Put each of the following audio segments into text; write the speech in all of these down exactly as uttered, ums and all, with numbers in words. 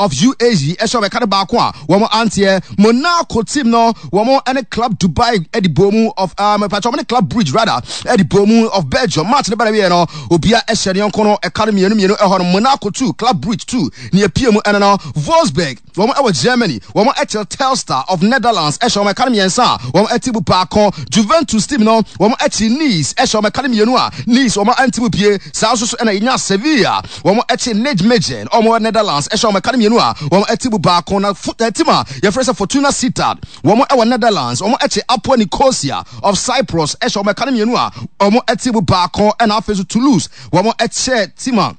of U A E ɛhyɛ wɔn ɛka no baako a wɔn anteɛ. Monaco team no, wɔn ɛne Club Dubai ɛde bɔ mu of um, patro, wɔn ne Club Brugge rather ɛde bɔ mu of Belgium. Match ne bɛrɛ wiɛ no, obia ɛhyɛ ne yɔnko no ɛka no mmienu mmienu ɛhɔ no. Monaco two, Club Brugge two ne epie mu. Ɛno no, Wolfsburg, wɔn ɛwɔ Germany, wɔn ɛkyɛ Telstar of Netherlands ɛhyɛ wɔn ɛka no mmiɛnsa a wɔn ɛte mu baako. Juventus team no, wɔn ɛkyi Nice ɛhyɛ wɔn ɛka no mmienu a Nice wɔn ɛnte mu pie. Saa nso so ɛna yɛnya Sevilla, wɔn ɛkyi Nijmegen, wɔn wɔ Netherlands, ɛhyɛ wɔn ɛka no mmienu a wɔn ɛte mu baako. Na team a yɛfrɛ sɛ Fortuna Sittard, wɔn ɛwɔ Netherlands, wɔn ɛkyi Apoel Nicosia of Cyprus ɛhyɛ wɔn ɛka no mmienu a wɔn ɛte mu baako. Ɛna afei so Toulouse, wɔn ɛkyɛ team a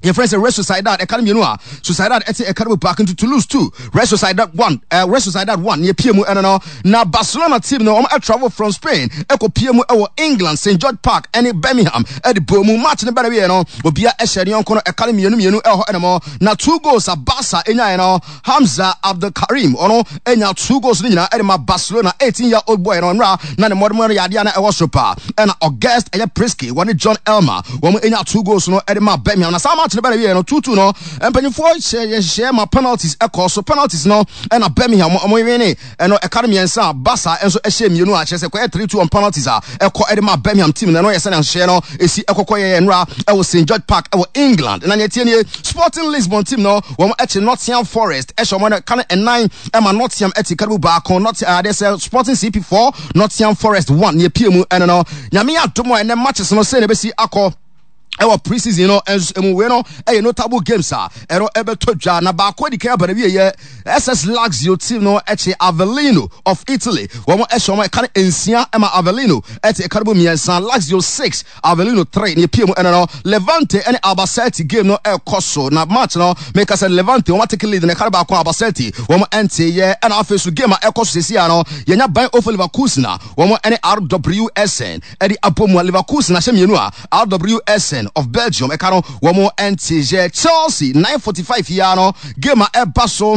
yɛfrɛ sɛ Real Sociedad ɛka no mmienu a Sociedad ɛte ɛka no mu baako. Nti Toulouse two, Real Sociedad one, uh, Real Sociedad one ne pie mu. Ɛno no, na Barcelona team no, wɔn travel from Spain ɛkɔ pie mu ɛwɔ England, Saint George Park, ɛne Birmingham ɛde bɔ mu. Match no bɛrɛ wiɛ no, obia ɛhyɛ ne yɔnko no ɛka no mmienu mmienu ɛwɔ hɔ. Ɛnam na two goals a Barca ɛnyaeɛ no, Hamza Abdulkarim, ɔno ɛnya two goals no nyinaa ɛde ma Barcelona. eighteen year old boy no, nwura na ne mmɔdemmɔ no yɛ adeɛ na ɛwɔ soro paa. Ɛna August ɛyɛ Priske, wɔne John Elmer, wɔn ɛnya two goals no ɛde ma Birmingham. Na saa match no bɛrɛ wiɛ no, two two no, mpanyinfoɔ hyɛ yɛhyehyɛ ma penalties ɛkɔ so. Penalties no, ɛna Birmingham ɔmo win ɛno ɛka no mmiɛnsa a Barca nso ɛhyɛ mmienu a kyerɛ sɛ kɔyɛ three two on penalties a ɛkɔ ɛde ma Birmingham team no. Ɛno yɛ sɛnea nhyehyɛ no esi ɛkɔkɔ yɛ nwura ɛwɔ Saint George Park ɛwɔ England. Na nea tie nie, Sporting Lisbon team no, wɔn ɛkyi Nottingham Forest ɛhyɛ wɔn ɛka no ɛnan ɛma Nottingham ɛte ka no mu baako. Not adeɛ sɛ Sporting C P four, Nottingham Forest one nea pie mu. Ɛno no, Nyame adom a, ɛnɛ matches no sɛ na ɛbɛsi akɔ ɛwɔ pre-season no nso mu. Wei no ɛyɛ notable games a ɛno ɛbɛtɔ dwa. Na baako adi kan aba na wie yɛ S S Lazio team no ɛkye Avellino of Italy, wɔn ɛhyɛ wɔn ɛka no nsia ɛma Avellino ɛte ɛka no mu mmiɛnsa. Lazio six, Avellino three ne epie mu. Ɛno no, Levante ɛne Albacete game no ɛkɔ so. Na match no, meka sɛ Levante wɔn atake lead na ɛka no baako, Albacete wɔn ɛnte yɛ. Ɛna afei so game a ɛkɔ so sisi ano, yɛnya Bayer zero four Leverkusen a wɔn ɛne R W Essen ɛde abɔ mu a Leverkusen ahyɛ mmienu a R W Essen of Belgium ɛka no wɔn ɛnte yɛ. Chelsea, nine forty-five yia no, game a ɛba so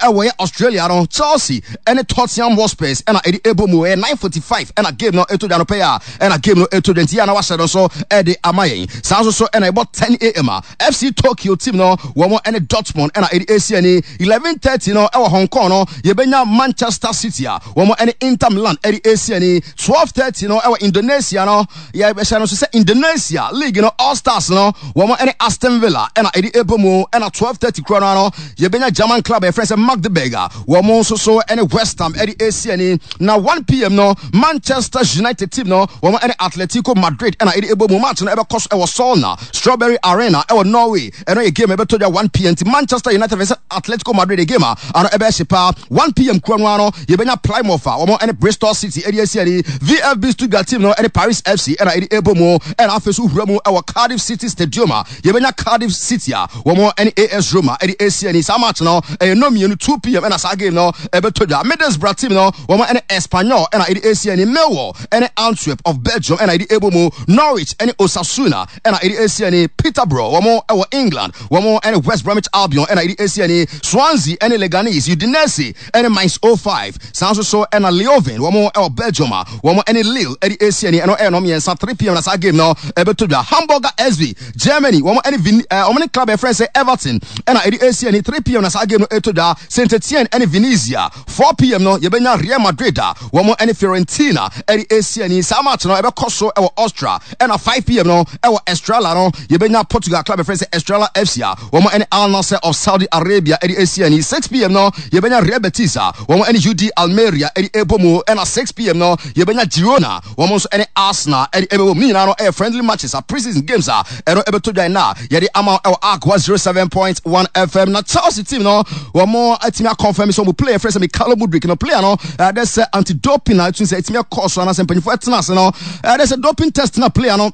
ɛwɔ yɛ Australia no, Chelsea ɛne Tottenham Hotspurs ɛna ɛde ɛbɔ mu. Ɛyɛ nine forty-five ɛna game no ɛto dwa no pɛyɛ a ɛna game no ɛto dwa, nti yɛ na wahyɛ no nso ɛde ama yɛn. Saa nso so ɛna ɛbɔ ten a m a F C Tokyo team no, wɔn ɛne Dortmund ɛna ɛde esi ani. eleven thirty no, ɛwɔ Hong Kong no, yɛbɛnya Manchester City a wɔn ɛne Inter Milan ɛde esi ani. twelve thirty no, ɛwɔ Indonesia no, yɛbɛhyɛ no nso sɛ Indonesia league no, All Stars no, wɔn ɛne Aston Villa ɛna ɛde ɛbɔ mu. Ɛna twelve thirty kuro no ano, yɛbɛnya German club a yɛfrɛ sɛ Magdeburg a wɔn nso so ɛne West Ham ɛde esi ani. Na one p m no, Manchester United team no, wɔn ɛne Atletico Madrid ɛna ɛde ɛbɔ mu. Match no ɛbɛkɔ so ɛwɔ Solna Strawberry Arena ɛwɔ Norway. Ɛno yɛ game ɛbɛtɔ dwa one p m. Nti Manchester United vs Atletico Madrid, game a ano ɛbɛyɛ hye paa. one p m kuro no ano, yɛbɛnya Plymouth a wɔn ɛne Bristol City ɛde esi ani. V F B Stuttgart team no ɛne Paris F C ɛna ɛde ɛbɔ mu. Ɛna afei so wura mu ɛwɔ Cardiff City Stadium a yɛbɛnya Cardiff City a wɔn ɛne A S Roma ɛde esi ani. Saa match no ɛyɛ no mmienu, two p m ɛna saa game no ɛbɛtɔ dwa. Middlesbrough team no, wɔn ɛne Espanyol ɛna ɛde esi ani. Millwall ɛne Antwerp of Belgium ɛna ɛde ɛbɔ mu. Norwich ɛne Osasuna ɛna ɛde esi ani. Peterborough, wɔn ɛwɔ England, wɔn ɛne West Bromwich Albion ɛna ɛde esi ani. Swansea ɛne Leganes, Udinese ɛne Mainz zero five, saa nso so ɛna Leuven, wɔn ɛwɔ Belgium a wɔn ɛne Lille ɛde esi ani. Ɛno ɛyɛ no mmiɛnsa, three p m na saa game no ɛbɛtɔ dwa. Hamburger S V, Germany, wɔn ɛne Vin ɛɛ wɔn ne club ɛfrɛ sɛ Everton ɛna ɛde esi ani. three p m na saa game no ɛtɔ dwa. Saint Etienne ɛne Venezia. four p m no, yɛbɛnya Real Madrid a wɔn ɛne Fiorentina ɛde esi ani. Saa match no ɛbɛkɔ so ɛwɔ Austria. Ɛna five p m no, ɛwɔ Estrela no, yɛbɛnya Portugal club ɛfrɛ sɛ Estrela F C a wɔn ɛne Al Nassr of Saudi Arabia ɛde esi ani. six p m no, yɛbɛnya Real Betis a wɔn ɛne U D Almeria ɛde ɛbɔ mu. Ɛna six p m no, yɛbɛnya Girona, wɔn nso ɛne Arsenal ɛde ɛbɛbɔ mu. Ne nyinaa no ɛyɛ friendly matches a pre-season games a ɛno ɛbɛtɔ dwa na yɛde ama ɛwɔ Akwa zero seven point one F M. Na Chelsea team no, wɔn atumi aconfirm sɛ wɔn player fɛ sɛ Mykhailo Mudryk no, player no ɛde sɛ anti-doping a ɛtumi sɛ ɛtumi ɛkɔɔ so anaasɛ mpanyinfoɔ ɛtena ase no, ɛde sɛ doping test na player no,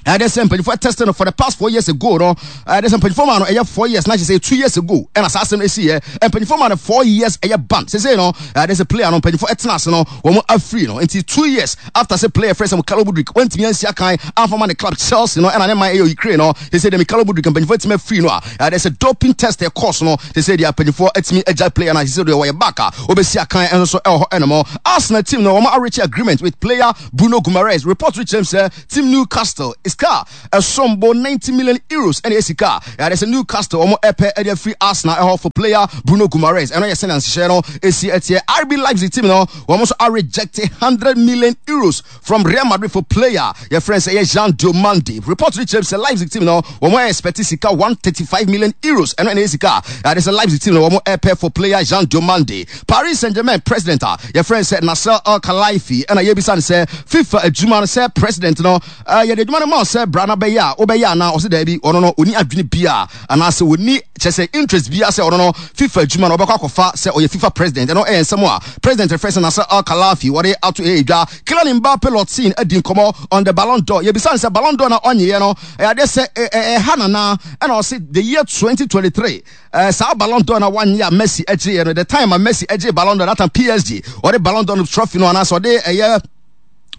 ɛde sɛ mpanyinfoɔ test no for the past four years ago no, ɛde sɛ mpanyinfoɔ maa no ɛyɛ four years na kyerɛ sɛ two years ago ɛna saa asɛm esi yɛ. Mpanyinfoɔ maa no four years ɛyɛ ban. Sese no, ɛde sɛ player no, mpanyinfoɔ ɛtena ase no, wɔn afiri no. Nti two years after sɛ player fɛ sɛ Mykhailo Mudryk wɔntumi ansi akan amfama ne club Chelsea no ɛna ne man ɛyɛ Ukraine no, sese deɛ Mykhailo Mudryk, mpanyinfoɔ atumi afiri no a ɛde sɛ doping test ɛkɔɔ so no, sese deɛ mpanyinfoɔ atumi agya player no. Sese deɛ wɔyɛ back a wɔbɛsi akan ɛnso so ɛwɔ hɔ. Ɛnum Arsenal team no, wɔn areach agreement with player Bruno Guimaraes. Report rekyerɛ sɛ team Newcastle is Sika ɛsombo ninety million euros ɛna ɛyɛ sika yɛade sɛ Newcastle wɔn ɛpɛ ɛde afiri Arsenal ɛhɔ for player Bruno Guimaraes. Ɛno yɛ sɛnea nhyehyɛ no esi ɛteɛ. R B Leipzig team no, wɔn nso areject hundred million euros from Real Madrid for player yɛfrɛ sɛ ɛyɛ Jean Diomande. Report no kyerɛ sɛ Leipzig team no, wɔn expect sika one hundred thirty-five million euros. Ɛno ɛna ɛyɛ sika yɛade sɛ Leipzig team no wɔn ɛpɛ for player Jean Diomande. Paris Saint-Germain president a yɛfrɛ sɛ Nasser Al Khelaifi, ɛna yɛbisa no sɛ FIFA adwuma no sɛ president no, yɛde adwuma no ma sɛ bra na bɛyɛ a wobɛyɛ anaa? Ɔsɛ daabi, ɔno no ɔni adwene bia anaasɛ ɔni kyɛ sɛ interest bia sɛ ɔno no FIFA adwuma no ɔbɛkɔ akɔfa sɛ ɔyɛ FIFA president. Ɛno ɛyɛ nsɛm a president refrɛ sɛ Nasser Al Khelaifi wɔde ato ɛyɛ dwa. Kylian Mbappe Lottin adi nkɔmmɔ on the Ballon d'Or. Yɛbisa no sɛ Ballon d'Or na ɔnyeɛ no ɛyɛ adeɛ sɛ ɛha nana, ɛna ɔse the year twenty twenty-three, uh, saa Ballon d'Or na wanye a Messi agye no, the time a Messi agye Ballon d'Or, that time P S G ɔde Ballon d'Or no trophy no anaasɛ ɔde ɛyɛ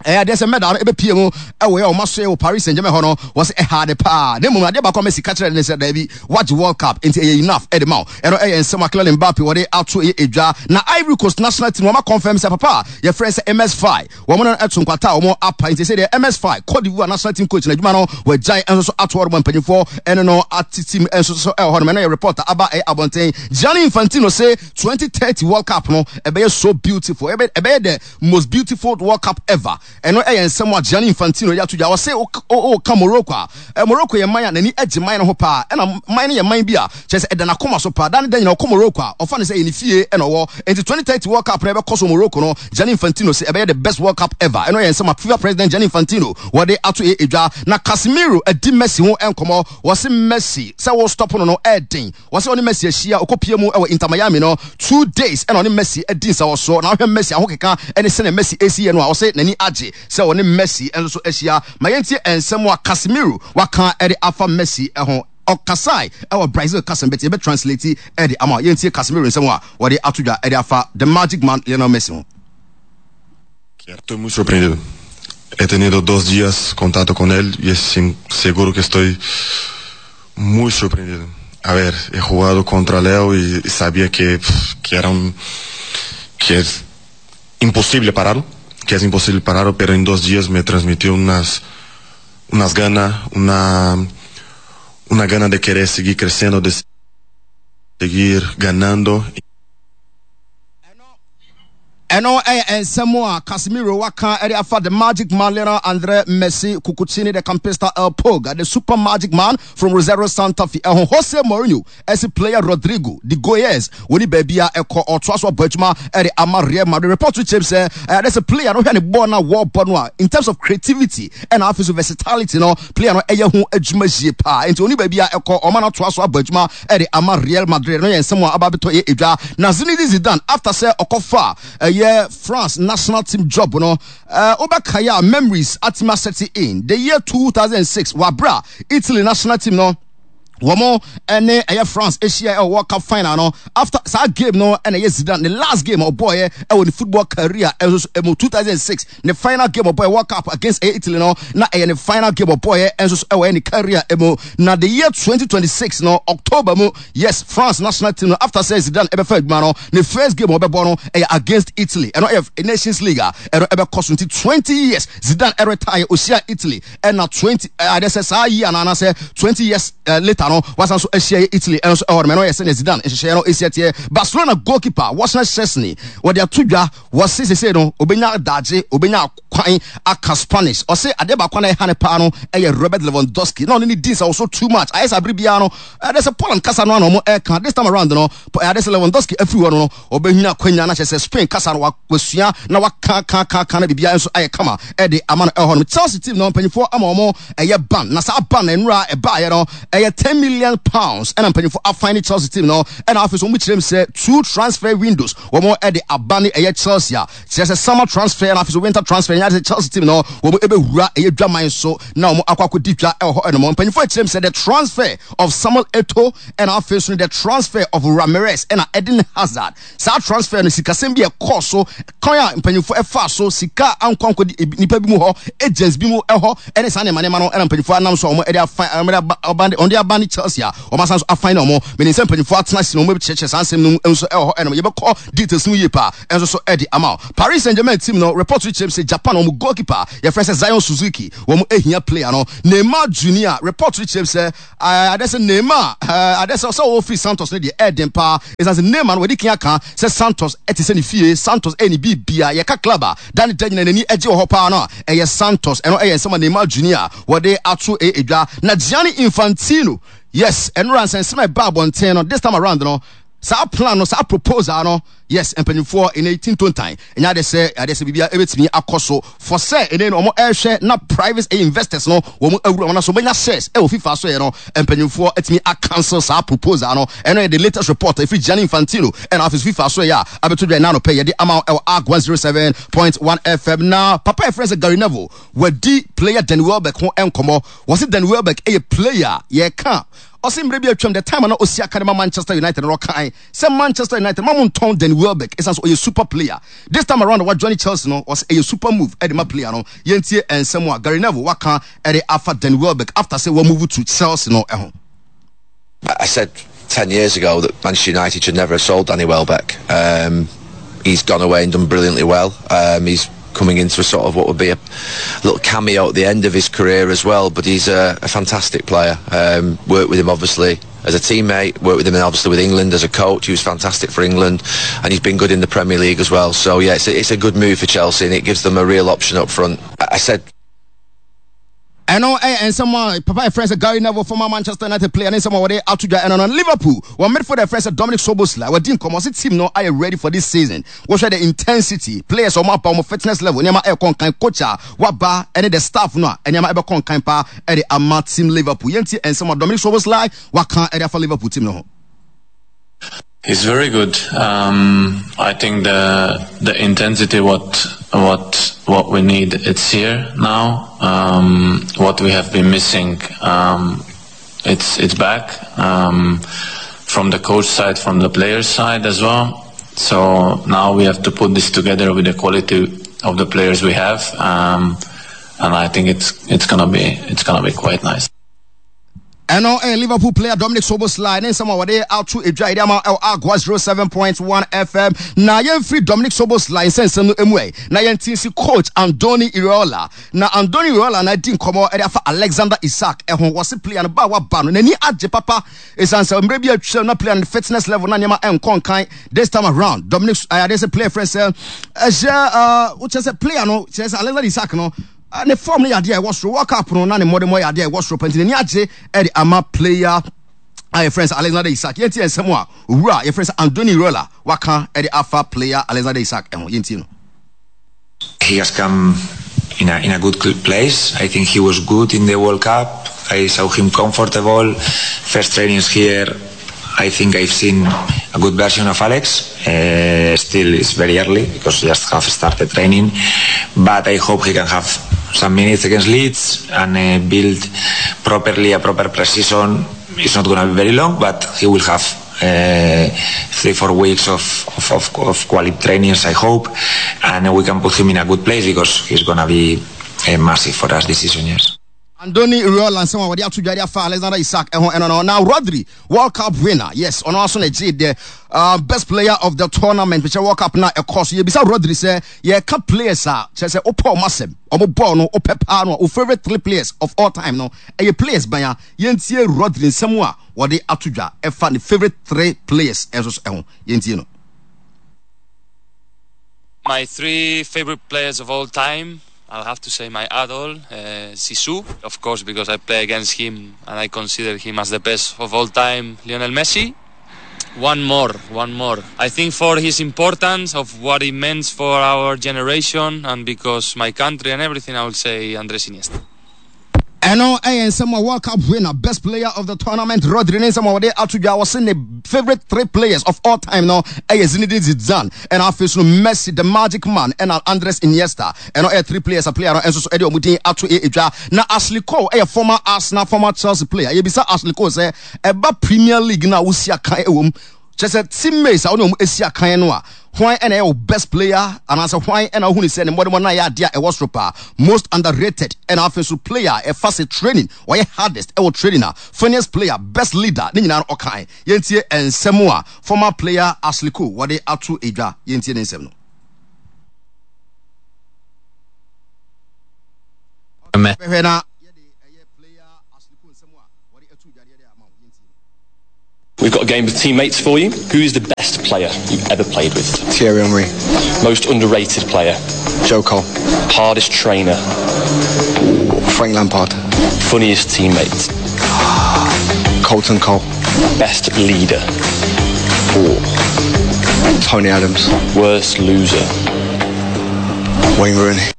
ɛyɛ adeɛ sɛ medal no ɛbɛpie mu ɛwɔ yɛ ɔma so wɔ Paris Saint Germain hɔ no, wɔ sɛ ɛha de paa. Na mmom adeɛ baako a Messi ka kyerɛ ne sɛ daabi, wagye World Cup nti ɛyɛ enough ɛde ma wo. Ɛno ɛyɛ nsɛm a Kylian Mbappe wɔde ato ɛyɛ edwa. Na Ivory Coast national team, wɔn confirm sɛ papa yɛfrɛ sɛ Emerse Faé, wɔn no ɛto nkwata a wɔn apa, nti sɛ deɛ Emerse Faé, Cote d'Ivoire national team coach, na adwuma no wɔagyae nso so ato hɔ nom. Mpanyinfoɔ ɛne no ate team nso so ɛwɔ hɔ nom. Ɛno yɛ report aba ɛyɛ abɔnten. Gianni Infantino sɛ twenty thirty World Cup no ɛbɛyɛ so beautiful, ɛbɛyɛ the most beautiful World Cup ever. Ɛno ɛyɛ nsɛm a Gianni Infantino yɛ ato dwa. Ɔsɛ ɔka Morocco a, Morocco yɛ man a n'ani agye man no ho paa, ɛna man no yɛ man bi a kyerɛ sɛ ɛda n'akoma so paa. Dan da nyina ɔkɔ Morocco a, ɔfa no sɛ ɛyɛ ne fie ɛna ɔwɔ. Nti twenty thirty World Cup no ɛbɛkɔ so Morocco no, Gianni Infantino sɛ ɛbɛyɛ the best World Cup ever. Ɛno yɛ nsɛm a FIFA president Gianni Infantino wɔde ato yɛ edwa. Na Casemiro adi Messi ho nkɔmɔ. Wɔse Messi sɛ wo stop no no ɛɛden. Wɔsɛ ɔne Messi ahyia, ɔkɔpie mu ɛwɔ Inter Miami no, two days ɛna ɔne Messi adi nsawɔsoɔ, na ɔhwɛ Messi ahokeka ɛne sɛnea Messi esi yɛ no a, ɔsɛ n'ani agye sɛ ɔne Messi nso so ahyia. Ma yɛntie nsɛm a Casemiro waka ɛde afa Messi ɛho. Ɔkasae ɛwɔ Brazil kasa bɛti yɛbɛ translate ɛde ama. Yɛntie Casemiro nsɛm a wɔde ato dwa ɛde afa the Magic Man Lionel Messi ho. Estoy muy sorprendido. He tenido dos días contacto con él y es seguro que estoy muy sorprendido. A ver, he jugado contra Leo y sabía que, que era un, que es imposible pararlo, que es imposible pararlo, pero en dos días me transmitió unas, unas ganas, una, una gana de querer seguir creciendo, de seguir ganando. Ɛno ɛyɛ nsɛm a Casemiro waka ɛde afa the Magic Man Lionel Andre Messi Cuccittini, the Campista, El Pulga, the super magic man from Rosario Santa Fe ɛho. Jose Mourinho ɛsi player Rodrygo de Goes wɔni baabi a ɛkɔ, ɔtoa so abɔ adwuma ɛde ama Real Madrid. Report kyerɛ sɛ ɛyɛ sɛ player no, hwɛ ne bɔɔl na wɔbɔ no a, in terms of creativity ɛna afei so versatility no, player no ɛyɛ ho adwuma yie paa, nti wɔni baabi a ɛkɔ, ɔma no atoa so abɔ adwuma ɛde ama Real Madrid. No yɛ nsɛm a aba abɛtɔ yɛ edwa. Na Zinedine Zidane, after sɛ ɔkɔfa ɛyɛ France national team job no, ɛɛ wobɛkaeɛ a, memories atumi aset in the year two thousand six, wabra Italy national team no wɔn ɛne ɛyɛ France ahyia ɛwɔ World Cup final no. After saa game no, ɛna ɛyɛ Zidane ne last game ɔbɔɔyɛ ɛwɔ ne football career ɛnso so ɛmu. two thousand six ne final game ɔbɔɔyɛ, World Cup against ɛyɛ Italy no, na ɛyɛ ne final game ɔbɔɔyɛ ɛnso so ɛwɔ ne career ɛmu. Na the year twenty twenty-six no, October mu, yes, France national team no, after sɛ Zidane ɛbɛfa adwuma no, ne first game ɔbɛbɔ no ɛyɛ against Italy. Ɛno ɛyɛ Nations League a ɛno ɛbɛkɔ so. Nti twenty years Zidane ɛretire, ohyia Italy, ɛna twenty ɛɛ sɛ saa yi ana anaasɛ twenty years uh, later no, wasan so ahyia yɛ Italy ɛno nso ɛhɔ nom. Ɛno yɛ sɛnea Zidane nhyehyɛeɛ no esi ɛteɛ. Barcelona goalkeeper Wojciech Szczesny wɔde ato dwa, wɔse sese no obenya adagye, obenya kwan aka Spanish. Ɔse adeɛ baako na ɛha ne paa no ɛyɛ Robert Lewandowski na ɔne ne di nsa so too much, ayɛ sɛ abere biara no ɛde sɛ Poland kasa no ana ɔmo ɛka. This time around no, ɛade sɛ Lewandowski afiri hɔ no no ɔbɛnya kwanya na kyerɛ sɛ Spain kasa no wasua na waka ka ka ka na biribiara nso ayɛ kama ɛde ama no ɛhɔ no. Chelsea team no mpanyinfoɔ ama ɔmo ɛyɛ ban, na saa ban na nnura ɛbaayɛ no ɛyɛ ten million pounds, ɛna mpanyinfoɔ afan ne Chelsea team no. Ɛna afei so wɔn kyerɛ mu sɛ two transfer windows wɔn ɛde aba ne ɛyɛ Chelsea a kyerɛ sɛ summer transfer na afei so winter transfer. Nyɛ sɛ Chelsea team no wɔn ɛbɛwura ɛyɛ dwaman so na wɔn akɔ akɔdi dwa ɛwɔ hɔ ɛnom. Mpanyinfoɔ akyerɛ mu sɛ the transfer of Samuel Eto'o ɛna afei so the transfer of Ramires ɛna Eden Hazard, saa transfer no, sikasɛm bi ɛkɔɔ so, kwan a mpanyinfoɔ ɛfa so sika ankɔ ankɔdi nipa bi mu hɔ, agents bi mu ɛhɔ, ɛne saa nneɛma nneɛma no, ɛna mpanyinfoɔ anam so a wɔn ɛde afa wɔn de aba. join Chelsea a wɔn asan so afan na wɔn mene nsɛm mpanyinfoɔ atena ase na wɔn bɛkyerɛkyerɛ saa nsɛm no nso ɛwɔ hɔ. Ɛnum yɛbɛkɔ details no yie paa ɛnso so ɛde ama. Paris Saint-Germain team no, report kyerɛ sɛ Japan wɔn goalkeeper yɛfrɛ sɛ Zion Suzuki, wɔn ehia player no. Neymar Junior, report kyerɛ sɛ ade sɛ Neymar ade sɛ sɛ wɔfiri Santos no deɛ, ɛɛden paa, ɛsiane sɛ Neymar no wɔde kan aka sɛ Santos ɛte sɛ ne fie, Santos ɛyɛ ne biribia. Yɛka club a da ne da nyina n'ani agye wɔ hɔ paa no a, ɛyɛ Santos. Ɛno ɛyɛ nsɛm a Neymar Junior wɔde ato ɛyɛ edwa. Na Gianni Infantino, yes, ɛnora nsɛnsɛm a ɛba abɔnten no, this time around no, saa plan no, saa proposal no, yes, mpanyinfoɔ ɛnɛ tintontan ɛnyɛ ade sɛ ade sɛ biribiara ɛbɛtumi akɔ so for sɛ ɛnɛ no wɔn ɛrehwɛ na private ɛyɛ investors no wɔn awura wɔn aso wɔnya shares ɛwɔ FIFA so. Yɛ no mpanyinfoɔ ɛtumi acancel saa proposal no. Ɛno yɛ the latest report ɛfiri Gianni Infantino ɛna afei FIFA so yɛ a abɛto dwa ɛna anɔpɛ yɛde ama ɛwɔ Ark one zero seven point one F M. Na papa yɛ sɛ Gary Neville wadi player Danny Welbeck ho nkɔmɔ. Wɔsi Danny Welbeck ɛyɛ player yɛka ɔsi mmerɛ bi atwam, the time a na osi aka ne ma Manchester United no, ɔkan sɛ Manchester United ma mo ntɔn Danny Welbeck, ɛsan so ɔyɛ super player. This time around wa join Chelsea no, ɔsɛ ɛyɛ super move ɛde ma player no. Yɛntie nsɛm a Gary Neville waka ɛde afa Danny Welbeck after sɛ wɔn move to Chelsea no ɛho. I said ten years ago that Manchester United should never have sold Danny Welbeck. Um, he's gone away and done brilliantly well. Um, he's coming into a sort of what would be a little cameo at the end of his career as well. But he's a, a fantastic player. Um, worked with him obviously as a teammate, worked with him obviously with England as a coach. He was fantastic for England, and he's been good in the Premier League as well. So yeah, it's a, it's a good move for Chelsea, and it gives them a real option up front. I, I said Ɛno ɛyɛ nsɛm a papa yɛfrɛ sɛ Gary Neville, former Manchester United player, ne nsɛm a wɔde ato dwa. Ɛno no, Liverpool wɔn midfielder yɛfrɛ sɛ Dominic Szoboszlai wɔdi nkɔmmɔ sɛ team no ayɛ ready for this season. Wɔhwɛ the intensity, players wɔn aba, wɔn fitness level, nneɛma ɛrekɔ nkan, coach a waba ɛne the staff no a nneɛma ɛbɛkɔ nkan paa ɛde ama team Liverpool. Yɛnti nsɛm a Dominic Szoboszlai waka ɛde afa Liverpool team no ho. He's very good. Um, I think the the intensity what what what we need, it's here now. Um, what we have been missing, um, it's it's back um, from the coach side, from the players side as well. So now we have to put this together with the quality of the players we have, um, and I think it's it's gonna be it's gonna be quite nice. Ɛno ɛyɛ Liverpool player Dominic Szoboszlai ne nsɛm a wɔde ato edwa yɛde ama ɛwɔ Agua zero seven point one F M. Na yɛmfiri Dominic Szoboszlai nsɛnsɛm no emu ɛ na yɛnti si coach Andoni Iraola. Na Andoni Iraola na di nkɔmmɔ ɛde afa Alexander Isak ɛho. Wɔse player no ba a waba no, n'ani agye papa, ɛsiane sɛ mmerɛ bi atwam na player no fitness level na nneɛma ɛnkɔ nkan. This time around, Dominic ɛyɛ sɛ player frɛ sɛ ɛhyɛ wokyerɛ sɛ player no kyerɛ sɛ Alexander Isak no ne form no yɛ adeɛ a ɛwɔ soro. World Cup no na ne mmɔde mmɔ yɛ adeɛ a ɛwɔ soro pɛnti n'ani agye ɛde ama player a yɛfrɛ sɛ Alexander Isak. Yɛnti nsɛm a owura a yɛfrɛ sɛ Andoni Iraola waka ɛde afa player Alexander Isak ɛho. Yɛnti no. He has come in a, in a good place. I think he was good in the World Cup. I saw him comfortable. First trainings here, I think I've seen a good version of Alex. Uh, still, it's very early because just have started training, but I hope he can have some minutes against Leeds and uh, build properly a proper pre-season. It's not going to be very long, but he will have uh, three, four weeks of, of, of, of quality trainings, I hope, and we can put him in a good place because he's going to be uh, massive for us this season, yes. Andoni Iraola nsɛm a wɔde ato dwade afa Alexander Isak ɛho ɛno no. Na Rodri, World Cup winner, yes, ɔno aso na gye the uh, best player of the tournament mekyɛ World Cup na ɛkɔ so. Yɛbisa Rodri sɛ yɛka players a kyerɛ sɛ wopɛ ɔmo asɛm, ɔmo bɔɔl no wopɛ paa no a, wo favorite three players of all time no ɛyɛ players ban a, yɛntie Rodri nsɛm a wɔde ato dwa ɛfa ne favorite three players ɛnso so ɛho. Yɛntie no. My three favorite players of all time, I'll have to say my idol, uh, Zizou, of course, because I play against him and I consider him as the best of all time, Lionel Messi. One more, one more. I think for his importance of what he meant for our generation and because my country and everything, I will say Andres Iniesta. Ɛno ɛyɛ nsɛm a World Cup winner, best player of the tournament, Rodri ne nsɛm a wɔde ato dwa. Wɔse ne favorite three players of all time no ɛyɛ Zinedine Zidane, ɛna afei so no Messi, the magic man, ɛna Andres Iniesta. Ɛno ɛyɛ three players a player no ɛnso so ɛde ɔmo din ato edwa. Na Ashley Cole ɛyɛ former Arsenal, former Chelsea player. Yɛbisa Ashley Cole sɛ ɛba Premier League na wosi akan ɛwɔ mu, kyerɛ sɛ teammates a wɔne wɔn asi akan no a, Hwan ɛna ɛyɛ wo best player anaasɛ hwan ɛna wohu ne sɛ ne mmɔdemmɔ no ayɛ adeɛ a ɛwɔ soro paa, most underrated, ɛna afei nso player ɛfa sɛ training ɔyɛ hardest ɛwɔ training a, funniest player, best leader, ne nyinaa no ɔkae. Yɛntie nsɛm a former player Ashley Cole wɔde ato edwa. Yɛntie ne nsɛm no. Bɛhwɛ na yɛde ɛyɛ player Ashley Cole nsɛm a wɔde ato dwa deɛ de ama wo. Yɛntie. We've got a game of teammates for you. Who's the best player you've ever played with? Thierry Henry. Most underrated player? Joe Cole. Hardest trainer? Frank Lampard. Funniest teammate? Carlton Cole. Best leader? Ooh. Tony Adams. Worst loser? Wayne Rooney.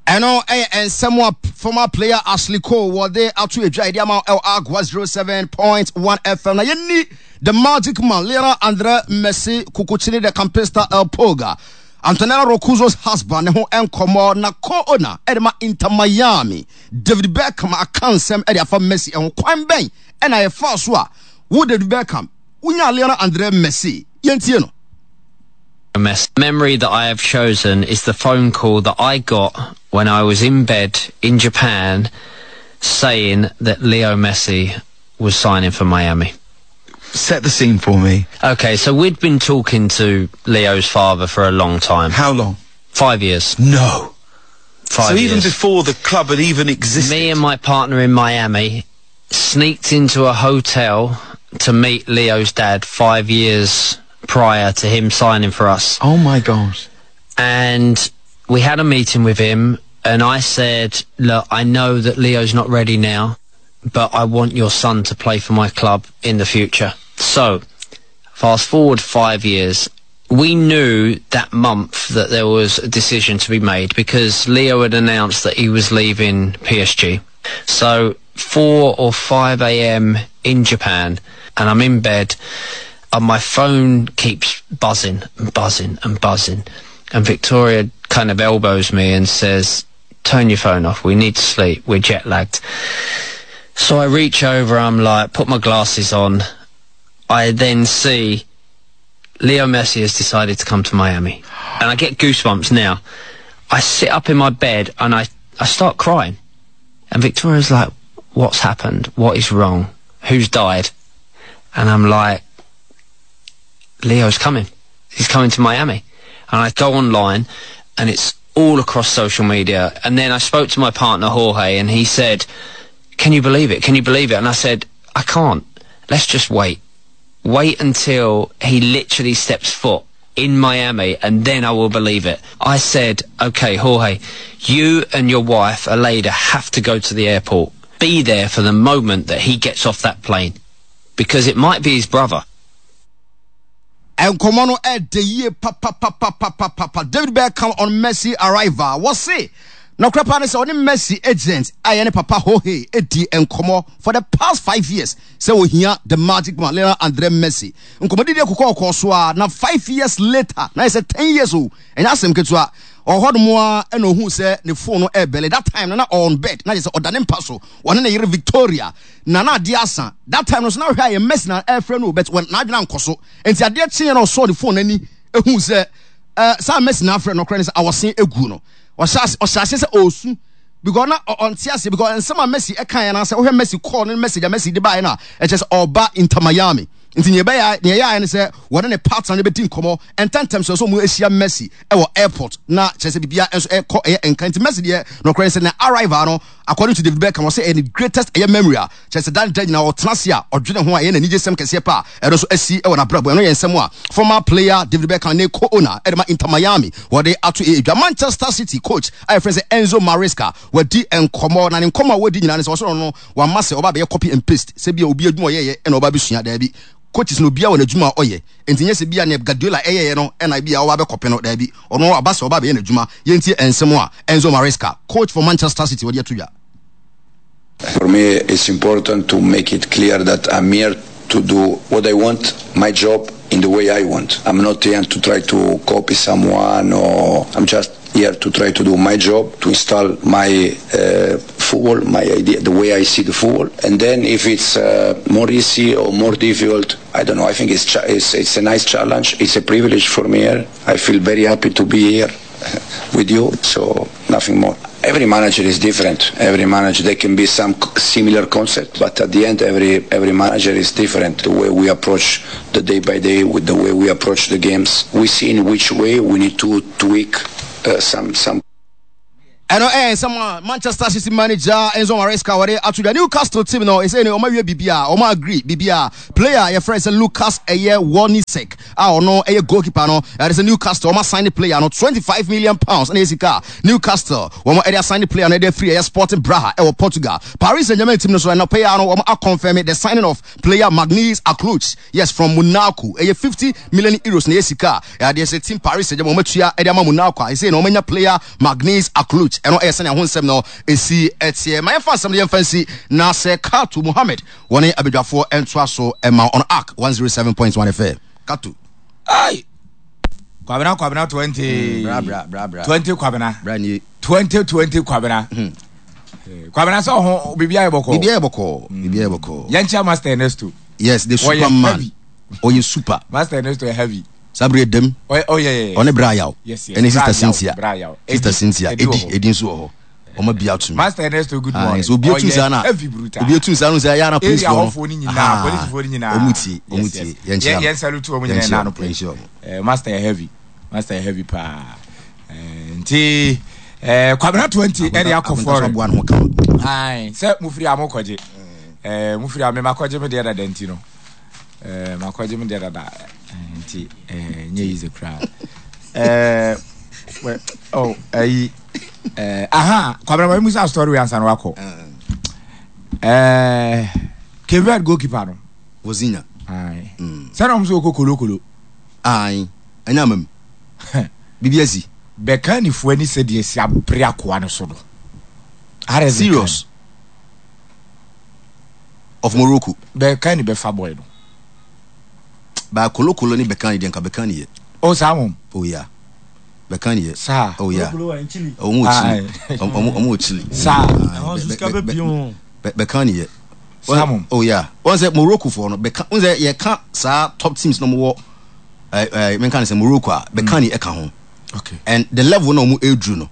Ɛno ɛyɛ nsɛm a former player Ashley Cole wɔde ato edwa yɛde ama ɛwɔ Agua zero seven point one F M. Na yɛni the magic man, Lionel Andre Messi Cuccittini, the Campista, El Pulga, Antonella Roccuzzo's husband, ne ho nkɔmmɔ. Na co-owner ɛde ma Inter Miami, David Beckham, aka nsɛm ɛde afa Messi ɛho. Kwan bɛn ɛna yɛfa so a wo David Beckham wonya Lionel Andre Messi? Yɛntie no. Mess. Memory that I have chosen is the phone call that I got when I was in bed in Japan saying that Leo Messi was signing for Miami. Set the scene for me. Okay, so we'd been talking to Leo's father for a long time. How long? Five years. No. Five So even years. Before the club had even existed. Me and my partner in Miami sneaked into a hotel to meet Leo's dad five years prior to him signing for us. Oh my God. And we had a meeting with him, and I said, "Look, I know that Leo's not ready now, but I want your son to play for my club in the future." So, fast forward five years, we knew that month that there was a decision to be made because Leo had announced that he was leaving P S G. So, four or five a m in Japan, and I'm in bed, and my phone keeps buzzing and buzzing and buzzing. And Victoria kind of elbows me and says, "Turn your phone off. We need to sleep. We're jet lagged." So I reach over, I'm like, put my glasses on. I then see Leo Messi has decided to come to Miami. And I get goosebumps now. I sit up in my bed and I, I start crying. And Victoria's like, "What's happened? What is wrong? Who's died?" And I'm like, "Leo's coming. He's coming to Miami." And I go online and it's all across social media. And then I spoke to my partner, Jorge, and he said, "Can you believe it? Can you believe it?" And I said, "I can't. Let's just wait. Wait until he literally steps foot in Miami and then I will believe it." I said, "Okay, Jorge, you and your wife, Aleida, have to go to the airport. Be there for the moment that he gets off that plane. Because it might be his brother." Nkɔmɔ no ɛda yie papapapapapa. David Beckham on Messi arrival, wɔse na ɔkora paa ne sɛ ɔne Messi agent a yɛ ne papa Jorge edi nkɔmɔ for the past five years sɛ ohia the magic man, Lionel Andre Messi. Nkɔmɔdidi akokɔ ɔkɔ so a na five years later na yɛ sɛ ten years o, ɛnyɛ asɛm ketewa. Ɔhɔ nom a ɛna ohun sɛ ne phone no ɛbell. That time no na on bed na yɛ sɛ ɔda ne mpa so, ɔne ne yere Victoria na na adeɛ asa. That time no so na ɔhwɛ a yɛ Messi na ɛfrɛ no, but wɔn n'adwene ankɔ so. Nti adeɛ kyeɛ na ɔsɔɔ ne phone n'ani ehu sɛ ɛɛ saa Messi na afrɛ no. Ɔkora ne sɛ awɔsen egu no, ɔhyɛ ase ɔhyɛ ase sɛ ɔɔsu because na ɔnte ase because nsɛm a Messi ɛka yɛn anaasɛ wohwɛ Messi call ne message a Messi de baeɛ no a, ɛkyɛ sɛ ɔba Inter Miami. Nti nea ɛbɛyɛ nea ɛyɛ ayɛ ne sɛ wɔne ne partner no bɛdi nkɔmmɔ ntɛntɛm sɛ sɛ ɔmo ahyia Messi ɛwɔ airport na kyerɛ sɛ biribiara nso ɛkɔ ɛyɛ nka. Nti Messi deɛ, nɔkorɛ sɛ na arrival no, according to David Beckham, ɔsɛ ɛyɛ ne greatest ɛyɛ memory a kyerɛ sɛ dan da nyinaa ɔtena ase a ɔdwene ho a ɛyɛ n'anigye sɛm kɛseɛ pa a ɛno nso asi ɛwɔ n'abrabɔ. Ɛno yɛ nsɛm a former player David Beckham ne co-owner ɛde ma Inter Miami wɔde ato edwa. Manchester City coach a yɛfrɛ sɛ Enzo Maresca wadi nkɔmmɔ, na ne nkɔmmɔ a wadi nyinaa ne sɛ ɔsoro no wama sɛ ɔba bɛyɛ copy and paste sɛ bia obi adwuma ɔyɛyɛ ɛna ɔba bɛsua. Daabi, coaches no obiara wɔ n'adwuma a ɔyɛ, nti nyɛ sɛ bia ne Guardiola ɛyɛyɛ no ɛna bia ɔba bɛkɔpe no. Daabi, ɔno aba sɛ ɔba bɛyɛ n'adwuma. Yɛntie nsɛm a Enzo Maresca, coach for Manchester City, wɔde ato dwa. For me, it's important to make it clear that I'm here to do what I want, my job, in the way I want. I'm not here to try to copy someone, or I'm just here to try to do my job, to install my uh, football, my idea, the way I see the football. And then if it's uh, more easy or more difficult, I don't know. I think it's, cha- it's it's a nice challenge. It's a privilege for me here. I feel very happy to be here with you. So nothing more. Every manager is different. Every manager, there can be some similar concept, but at the end, every every manager is different. The way we approach the day by day, with the way we approach the games, we see in which way we need to tweak uh, some some. Ɛno ɛyɛ nsɛm a Manchester City manager Enzo Maresca wɔde ato dwa. Newcastle team no ɛsɛ ne ɔma wie biribi a ɔma agree biribi a player yɛfrɛ sɛ Lucas ɛyɛ Warnisek a ɔno ɛyɛ goalkeeper no, ɛde sɛ Newcastle ɔma sign player no twenty-five million pounds ɛna ɛsika Newcastle wɔn ɛde assign player no ɛde afiri ɛyɛ Sporting Braga ɛwɔ Portugal. Paris Saint-Germain team no so ɛna player no wɔn aconfirm the signing of player Maghnes Akliouche, yes, from Monaco. Ɛyɛ fifty million euros na ɛyɛ sika ɛde sɛ team Paris Saint-Germain wɔn atua ɛde ama Monaco a ɛsɛ na wɔn anya player Maghnes Akliouche. Ɛno ɛyɛ sɛnea ho nsɛm no ɛsi ɛteɛ. Ma yɛmfa nsɛm no yɛmfa nsi na sɛ Kato Mohammed wɔne abadwafoɔ ɛntoa so ɛma on Arc one oh seven point one F M. Kato. Ai! Kwabena Kwabena twenty. Mm, bra bra bra bra. twenty Kwabena. Bra ni. twenty twenty Kwabena. Mm. Kwabena sɛ ho bibia yɛ bɔkɔ. Bibia yɛ bɔkɔ. Bibia yɛ bɔkɔ. Yɛnkyɛ Master Ernesto. Yes, the Superman. Oye super. Master Ernesto heavy. Sabri dem. Oh, oh yeah yeah. One bra yaw. Yes, yes. Any sister Cynthia. Sister Cynthia. Edi edi nso wɔ hɔ. Ɔma bia to. Master Ernesto, good morning. So obi etu sa na. Obi etu sa no say ya na police for. Area nyina, police for nyina. Omuti, omuti. Yen chi. Yen salute omu nyina na no police. Eh Master heavy. Master heavy pa. Eh nti eh Kwabena twenty area akofo. Ai, se mufiri amokoje. Eh mufiri ame makoje me de da denti no. Eh makoje me de da da. Nti eh nye easy crowd. Eh well, oh eh eh aha Kwabena ma musa story we ansa no akọ. Eh Kevin goalkeeper no Vozinha. Ai. Sɛ na so kokolo kolo. Ai. Anya mam. B B S. Beka ni fo ani sɛ de asi abre akoa no so no. Serious. Of Morocco. Beka ni befa boy no. Ba kolo kolo ni beka ni denka beka ni ye. Oh Samum. Oh yeah. Beka ni ye. Sa. Oh yeah. Oh mo Chile. Oh mo Chile. Sa. Beka ni ye. Samum. Oh yeah. One say Morocco for no beka. One say ye ka sa top teams no mo eh eh men kan say Morocco a beka ni e ka ho. Okay. And the level no mo edru no.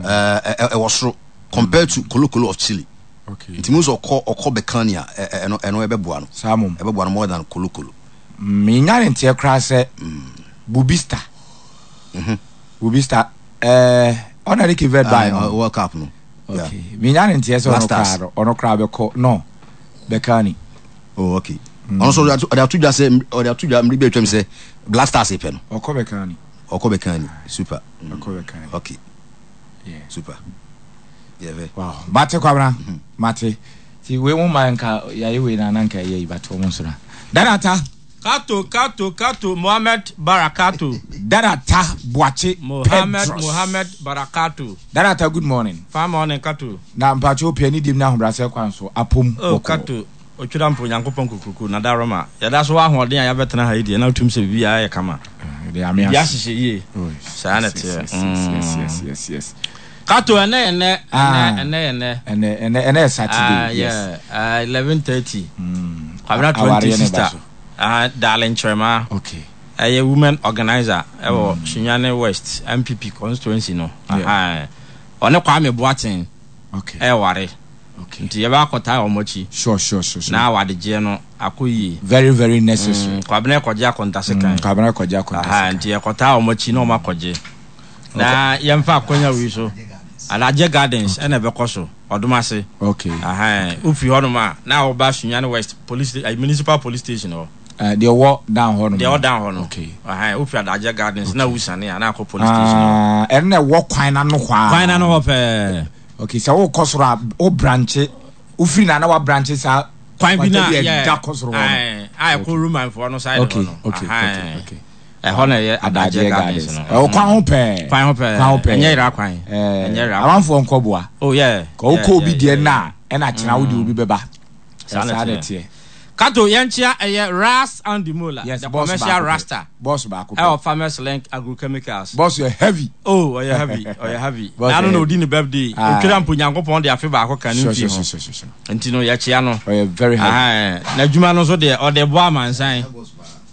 Eh eh was compared to Colo Colo of Chile. Okay. Nti mo so okọ okọ beka ni a eh no eno ebeboa no. Samum. Ebeboa no more than Colo Colo. Me nyane ntie kra se Bubista. Mhm. Bubista eh ona de Cape Verde by no World Cup no. Okay. Me nyane ntie se ono kra no, ono kra be ko no. Bekani. Oh okay. Ono so oda atudwa se oda atudwa mri be twem se Black Stars e pe no. Okọ Bekani. Okọ Bekani. Super. Okọ Bekani. Okay. Yeah. Super. Yeah. Wow. Mate Kwabena. Mate. Ti we mo man ka ya we na na nka ye ba to mo so na. Danata. Kato, Kato, Kato, Mohammed Barakato. Darata Boache Mohammed, Mohammed Barakato. Darata, good morning. Fine morning, Kato. Na mpacho pia ni dim na hobrase kwan so apom. Oh, Kato, otwira mpo Nyankopɔn kukuku na daroma. Ya da so wa ahoɔden a ya betena ha yi de na otum se bibi ya kama. De ame ase. Ya hyehyɛ yie. Saa na te. Yes, yes, yes, yes. Kato ene ene ene ene ene ene ene Saturday. Yes. eleven thirty. Kwabena twenty sister. Ah, darling Trema. Okay. A woman organizer. Ewo Sunyani West M P P constituency no. Aha. One Kwame Boateng. Okay. E ware. Okay. Nti ye ba akota omochi. Sure, sure, sure, sure. Na wade no akoyi. Very, very necessary. Mm, Kwabena koje akonta sekan. Kwabena koje akonta sekan. Aha, nti ye kota omochi na omakoje. Na yemfa akonya wi so. Alaje Gardens ena be koso. Odumase. Okay. Aha. Ufi hono ma na oba Sunyani West police uh, municipal police station o. Uh, they walk down hono. They walk down hono. Okay. Aha, ufi Adaje Gardens na wusane na akọ police station. Ah, uh, ene wo kwan na no kwa. Kwan na no ho pe. Okay, so wo kosoro o branch, ufiri na na wa branch sa kwan bi na yeah. Da kosoro ho. Ah, ah, ko room and for no side okay, no. Okay, okay, okay. Eh ho na ye Adaje Gardens no. Eh kwan ho pe. Kwan ho pe. Kwan ho pe. Enye ira kwan. Enye ira. Amanfo nkoboa. Oh yeah. Ko ko obi de na e na kina wo de obi beba. Sa na tie. Kato yɛnkyea ɛyɛ Ras Andy Mola, Yes, the boss commercial baako pɛ. Rasta. Boss baako pɛ. Ɛwɔ Farmers Link Agrochemicals. Boss yɛ heavy. Oh, ɔyɛ heavy, ɔyɛ heavy. Boss Na yɛ ano na heavy. odi ne birthday. Aye. Otwera mpo Nyankopɔn de afe baako ka ne Sure, mfie sure, ho. sure, sure, sure, sure. Nti no yɛkyea no. Ɔyɛ very heavy. Aye. N'adwuma no nso deɛ ɔde boa amansan.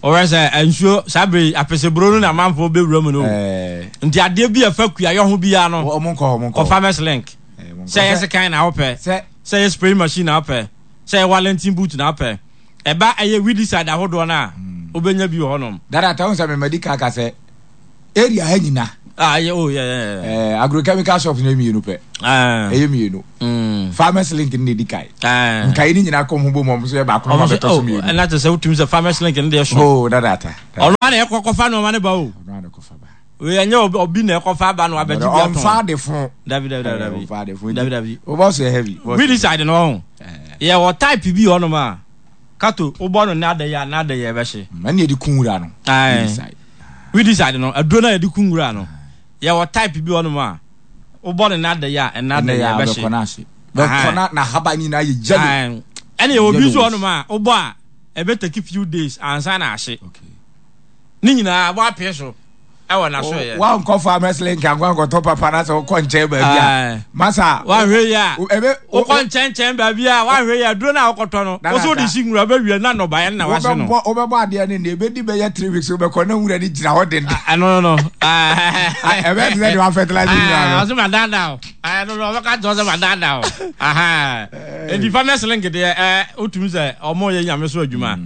Ɔwɛ sɛ nsuo saa bere yi, apɛsɛburo no na amanfoɔ bɛwura mu no. Eh, Nti adeɛ bi a ɛfa kuayɔ ho biara no, ɔmo nkɔ hɔ, ɔmo nkɔ kɔ hɔ. Farmers Link. Eh, ɔmo nkɔ Sɛ ɛyɛ hɔ. sekan na wopɛ, Sɛ sɛ ɛyɛ spraying machine na wopɛ, sɛ ɛyɛ Wellington boot na wopɛ, ɛba ɛyɛ weedicide ahodoɔ no a, wobɛnya bi wɔ hɔnom. Dada ta sɛ memadi ka ka sɛ area ha nyina Ah, yeah, oh, yeah, yeah, yeah. eh, agrochemical shops no yɛ mmienu pɛ. Ah. Ɛyɛ mmienu. Mm. Farmers Link no na ɛdi kae. Ah. Nkae no nyinaa kɔm ho bɔ mu ɔmo nso yɛ baako na Ɔmo ɔmo sɛ, abɛtɔ so oh, mmienu. ɛna kyerɛ sɛ wotumi sɛ Farmers Link no deɛ so. Oh, dada ta. Ɔno ana ɛkɔ kɔfa nneɛma no ba o. Ɔno ana kɔfa ba. Wei ɛnyɛ obi obi na ɛkɔfa aba no abɛgye bi atɔn. Ɔmfa ade fo. Dabi dabi dabi dabi. Ɔmfa ade fo. Dabi dabi. O boss yɛ heavy. Boss yɛ Weedicide no ɔho. Yɛwɔ type bi wɔ hɔnom a kato wobɔ no n'ada yi a n'ada yi ɛbɛhye. Ɛna yɛde kun wura no. Aye. Weedicide. Weedicide no aduro no a yɛde kun wura no yɛwɔ type bi wɔ hɔnom a wobɔ no n'ada yi a ɛnada Ɛnɛ yi yɛ a ɛbɛhye. bɛkɔ n'ahye. Bɛkɔ na n'ahaban nyinaa yɛ yellow. Aye. Ɛna yɛwɔ bi nso wɔ Yellow. hɔnom a wobɔ a ɛbɛ take few days ansa na ahye. Okay. Ne nyinaa wɔapee so ɛwɔ n'aso yɛ. Wankɔ Farmers Link ankɔ ankɔtɔ papa na sɛ wokɔ nkyɛn baabi a. Aye. Masa. Wahwɛ yi a Ebe wokɔ nkyɛnkyɛn baabi a wahwɛ yi a duro no a wokɔtɔ no Dada wo so wode ta. si nwura bɛwie na nnɔbaeɛ no na wahye no. wobɛbɔ wobɛbɔ adeɛ no ne ebɛdi bɛyɛ three weeks wobɛkɔ na nwura no gyina hɔ denden. Ɛno no no. Ɛbɛyɛ te sɛ deɛ wafertilize nwura no. Ɔsɛ ma daadaa o. Ɛno no ɔbɛka kyerɛ sɛ ma daadaa o. Enti Farmers Link deɛ ɛɛ wotumi sɛ ɔmo yɛ nyame so adwuma.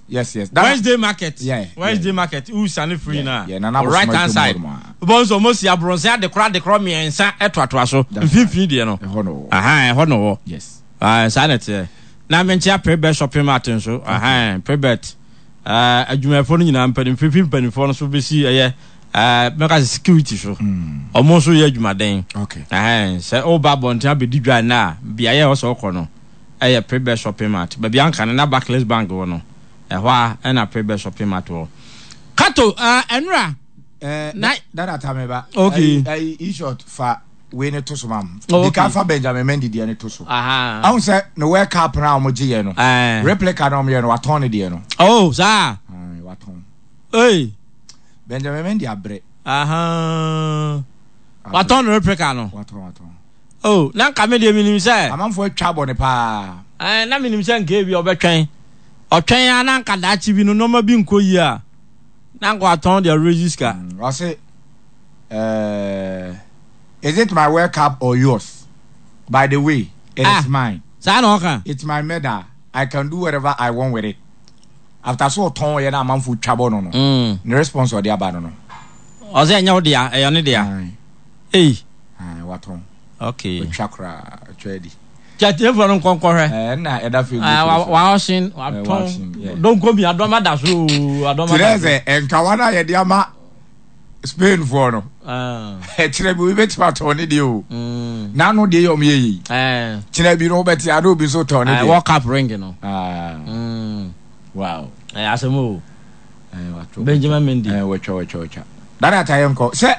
Yes yes. Dada- Wednesday market. Yeah, Wednesday market. Wusane free na. yeah, Nana Right Abosoma hand atwam side. hɔ nom a. Wobɛhu sɛ ɔmo si aborɔnse adekorɔ adekorɔ mmiɛnsa ɛtoatoa so. That's Mfimfini deɛ no. Ɛhɔ no wɔ. Aha ɛhɔ na wɔ. Yes. Ah, saa na ɛteɛ. Na menkyea Prebet shopping mart nso. Aha, Prebet. Uh, adwumayɛfoɔ no nyinaa mpanimfoɔ fi mpanimfoɔ no so bɛsi ɛyɛ uh, mɛka sɛ security so. Ɔmo nso yɛ adwumaden. Okay. Ɛhɛn, sɛ woba abɔnten abɛdi dwa nnɛ a, beaeɛ a ɛwɔ sɛ wokɔ no ɛyɛ Prebet shopping mart. Baabi anka no na Barclays Bank wɔ no. Ɛhɔ a ɛna Prebet shopping mart wɔ. Kato, uh, ɛnora. Eh, Na- dada ta me ba. Okay. Ayi ayi short fa wei ne to so mam. Oh, okay. Dika fa Benjamin Mendy deɛ ne to so. Aha. Ahu sɛ ne World Cup na ɔmo gye yɛ no. Eh. Replica na ɔmo yɛ no watɔn ne deɛ no. Oh, saa. Ayi watɔn. Hey. Benjamin Mendy abrɛ. Aha. Watɔn no replica no. Watɔn watɔn. Oh, na nka me deɛ menim sɛ. Amanfoɔ atwa bɔ ne paa. Eh, na menim sɛ nka ebi ɔbɛtwɛn. Ɔtwɛn a na nka daakye bi no nneɛma bi nkɔ yie a na nka watɔn deɛ ɔrezi sika. Mm, Ɔse uh, is it my World Cup or yours? By the way, it Ah. is mine. Saa na ɔka. It's my medal. I can do whatever I want with it. After so ɔtɔn yɛ na amanfoɔ twa bɔ no no. Mm. Ne response ɔde aba no no. Ɔsɛ ɛnyɛ wo dea, ɛyɛ ne dea. Aye. Ei. Aye, watɔn. Okay. Otwa koraa, otwa adi. Kyɛtiefoɔ no nkɔnkɔhwɛ. Ɛɛ na ɛda Facebook. Ah, wa so. wa ɔhyen Eh, wa-auction, yeah. watɔn. Donko bi adɔma da so oo, adɔma Kyerɛ da so. sɛ nkawa no a yɛde ama Spain foɔ no. Ah. Ɛkyerɛ bi obi bɛtumi atɔn ne deɛ o. Mm. N'ano deɛ yɛ ɔmo yɛ yi. Eh. Kyerɛ bi no wobɛte ano obi nso tɔn ne Eh, deɛ. World Cup ring no. Ah. Mm. Wow. Eh, asɛm o. Eh, watɔ. Benjamin Mendy. Eh, watwa watwa watwa. Dada ta yɛn kɔ. Sɛ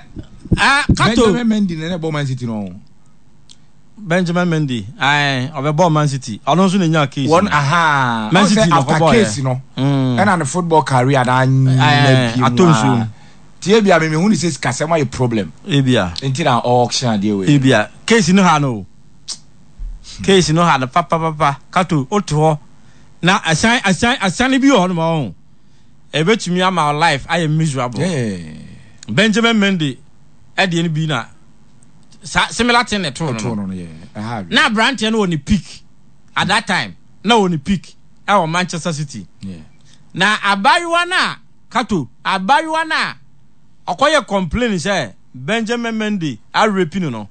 Ah, Kato. Benjamin Mendy na ne bɔ Man City no. Benjamin Mendy. Aye, ɔbɛbɔ Man City. Ɔno nso na nya case. Wɔn no. aha. Man Ɔn City sɛ na after ɔkɔbɔɔ yɛ. case no. Mm. Ɛna ne football career na Eh, anya bi mu atɔ nsuo mu. Tie bi a me mehu ne sɛ sikasɛm ayɛ problem. Ebia. Nti na auction adeɛ wei. Ebia. Case no ha no. Case no ha no papapapa. Kato, wote hɔ. Na asan asan asan bi wɔ hɔ nom ɔho. Ebetumi ama wo life ayɛ miserable. Yeah. Benjamin Mendy ɛdeɛ no bi na sa similar thing na ɛtoo no Ɛtoo no. no no yɛ. Ɛha adwene. Na aberanteɛ no wɔ ne peak at that time na wɔ ne peak ɛwɔ Manchester City. Yeah. Na abayewa no a Kato abayewa no a ɔkɔyɛ complain sɛ Benjamin Mendy arape no no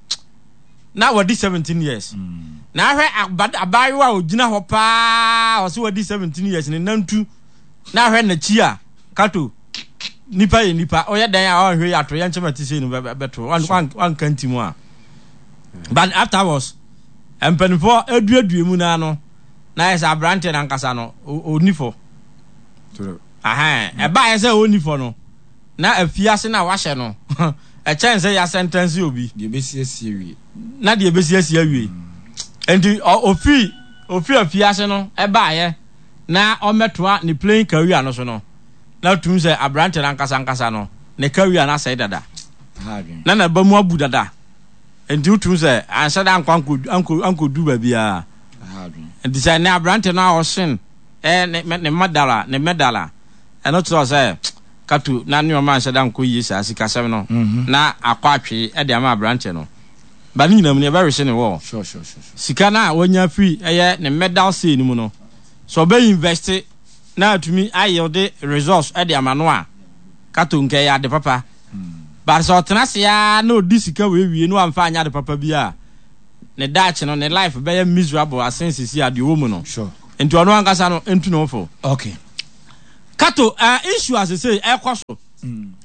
na wadi seventeen years. Na ahwɛ aba abayewa a ogyina hɔ paa ɔsɛ wadi seventeen years ne nantu na ahwɛ n'akyi a Kato nipa yɛ nipa ɔyɛ dan a ɔnhwɛ yi ato yɛn nkyɛn ti sei no bɛto wanka nti mu a but afterwards mpanimfoɔ aduadua mu naa no na yɛ sɛ aberanteɛ nankasa no ɔni fɔ ɛbaayɛ sɛ ɔni fɔ no na afiase no a wahyɛ no ɛkyɛn sɛ yɛasɛntɛnse obi deɛ ɛbɛsiesie wie na deɛ ɛbɛsiesie awie nti ofiri ofiri afiase no ɛbaayɛ Na ɔmmɛtoa ne playing career no so no, na tum sɛ aberante no ankasa ankasa no, ne career no asɛe dada. Na n'aba mu abu dada. Nti wotum sɛ anhyɛ da ankɔ ankɔ ankɔdu baabiara. Nti sɛ ne aberante no a ɔsen ɛɛ ne ne medal a ne medal a, ɛno kyerɛ sɛ Kato na nneɛma anhyɛ da nkɔ yie saa sikasɛm no na akɔ atwe ɛde ama aberante no. Ba ne nyinaa mu no, yɛbɛwehye ne wɔ. Sika no a wanya firi ɛyɛ ne medal sei no mu no, sɛ ɔbɛ invest na atumi ayɛwde results ɛde ama no a, Kato nka ɛyɛ ade papa. But sɛ ɔtena ase ara na ɔdi sika wei wie na wamfa anyɛ ade papa bi a, ne daakye no, ne life bɛyɛ miserable asen sisi a deɛ ɔwɔ mu no. Nti ɔno ankasa no ntu ne ho fo. Okay. Kato, uh, issue a sesei ɛkɔ so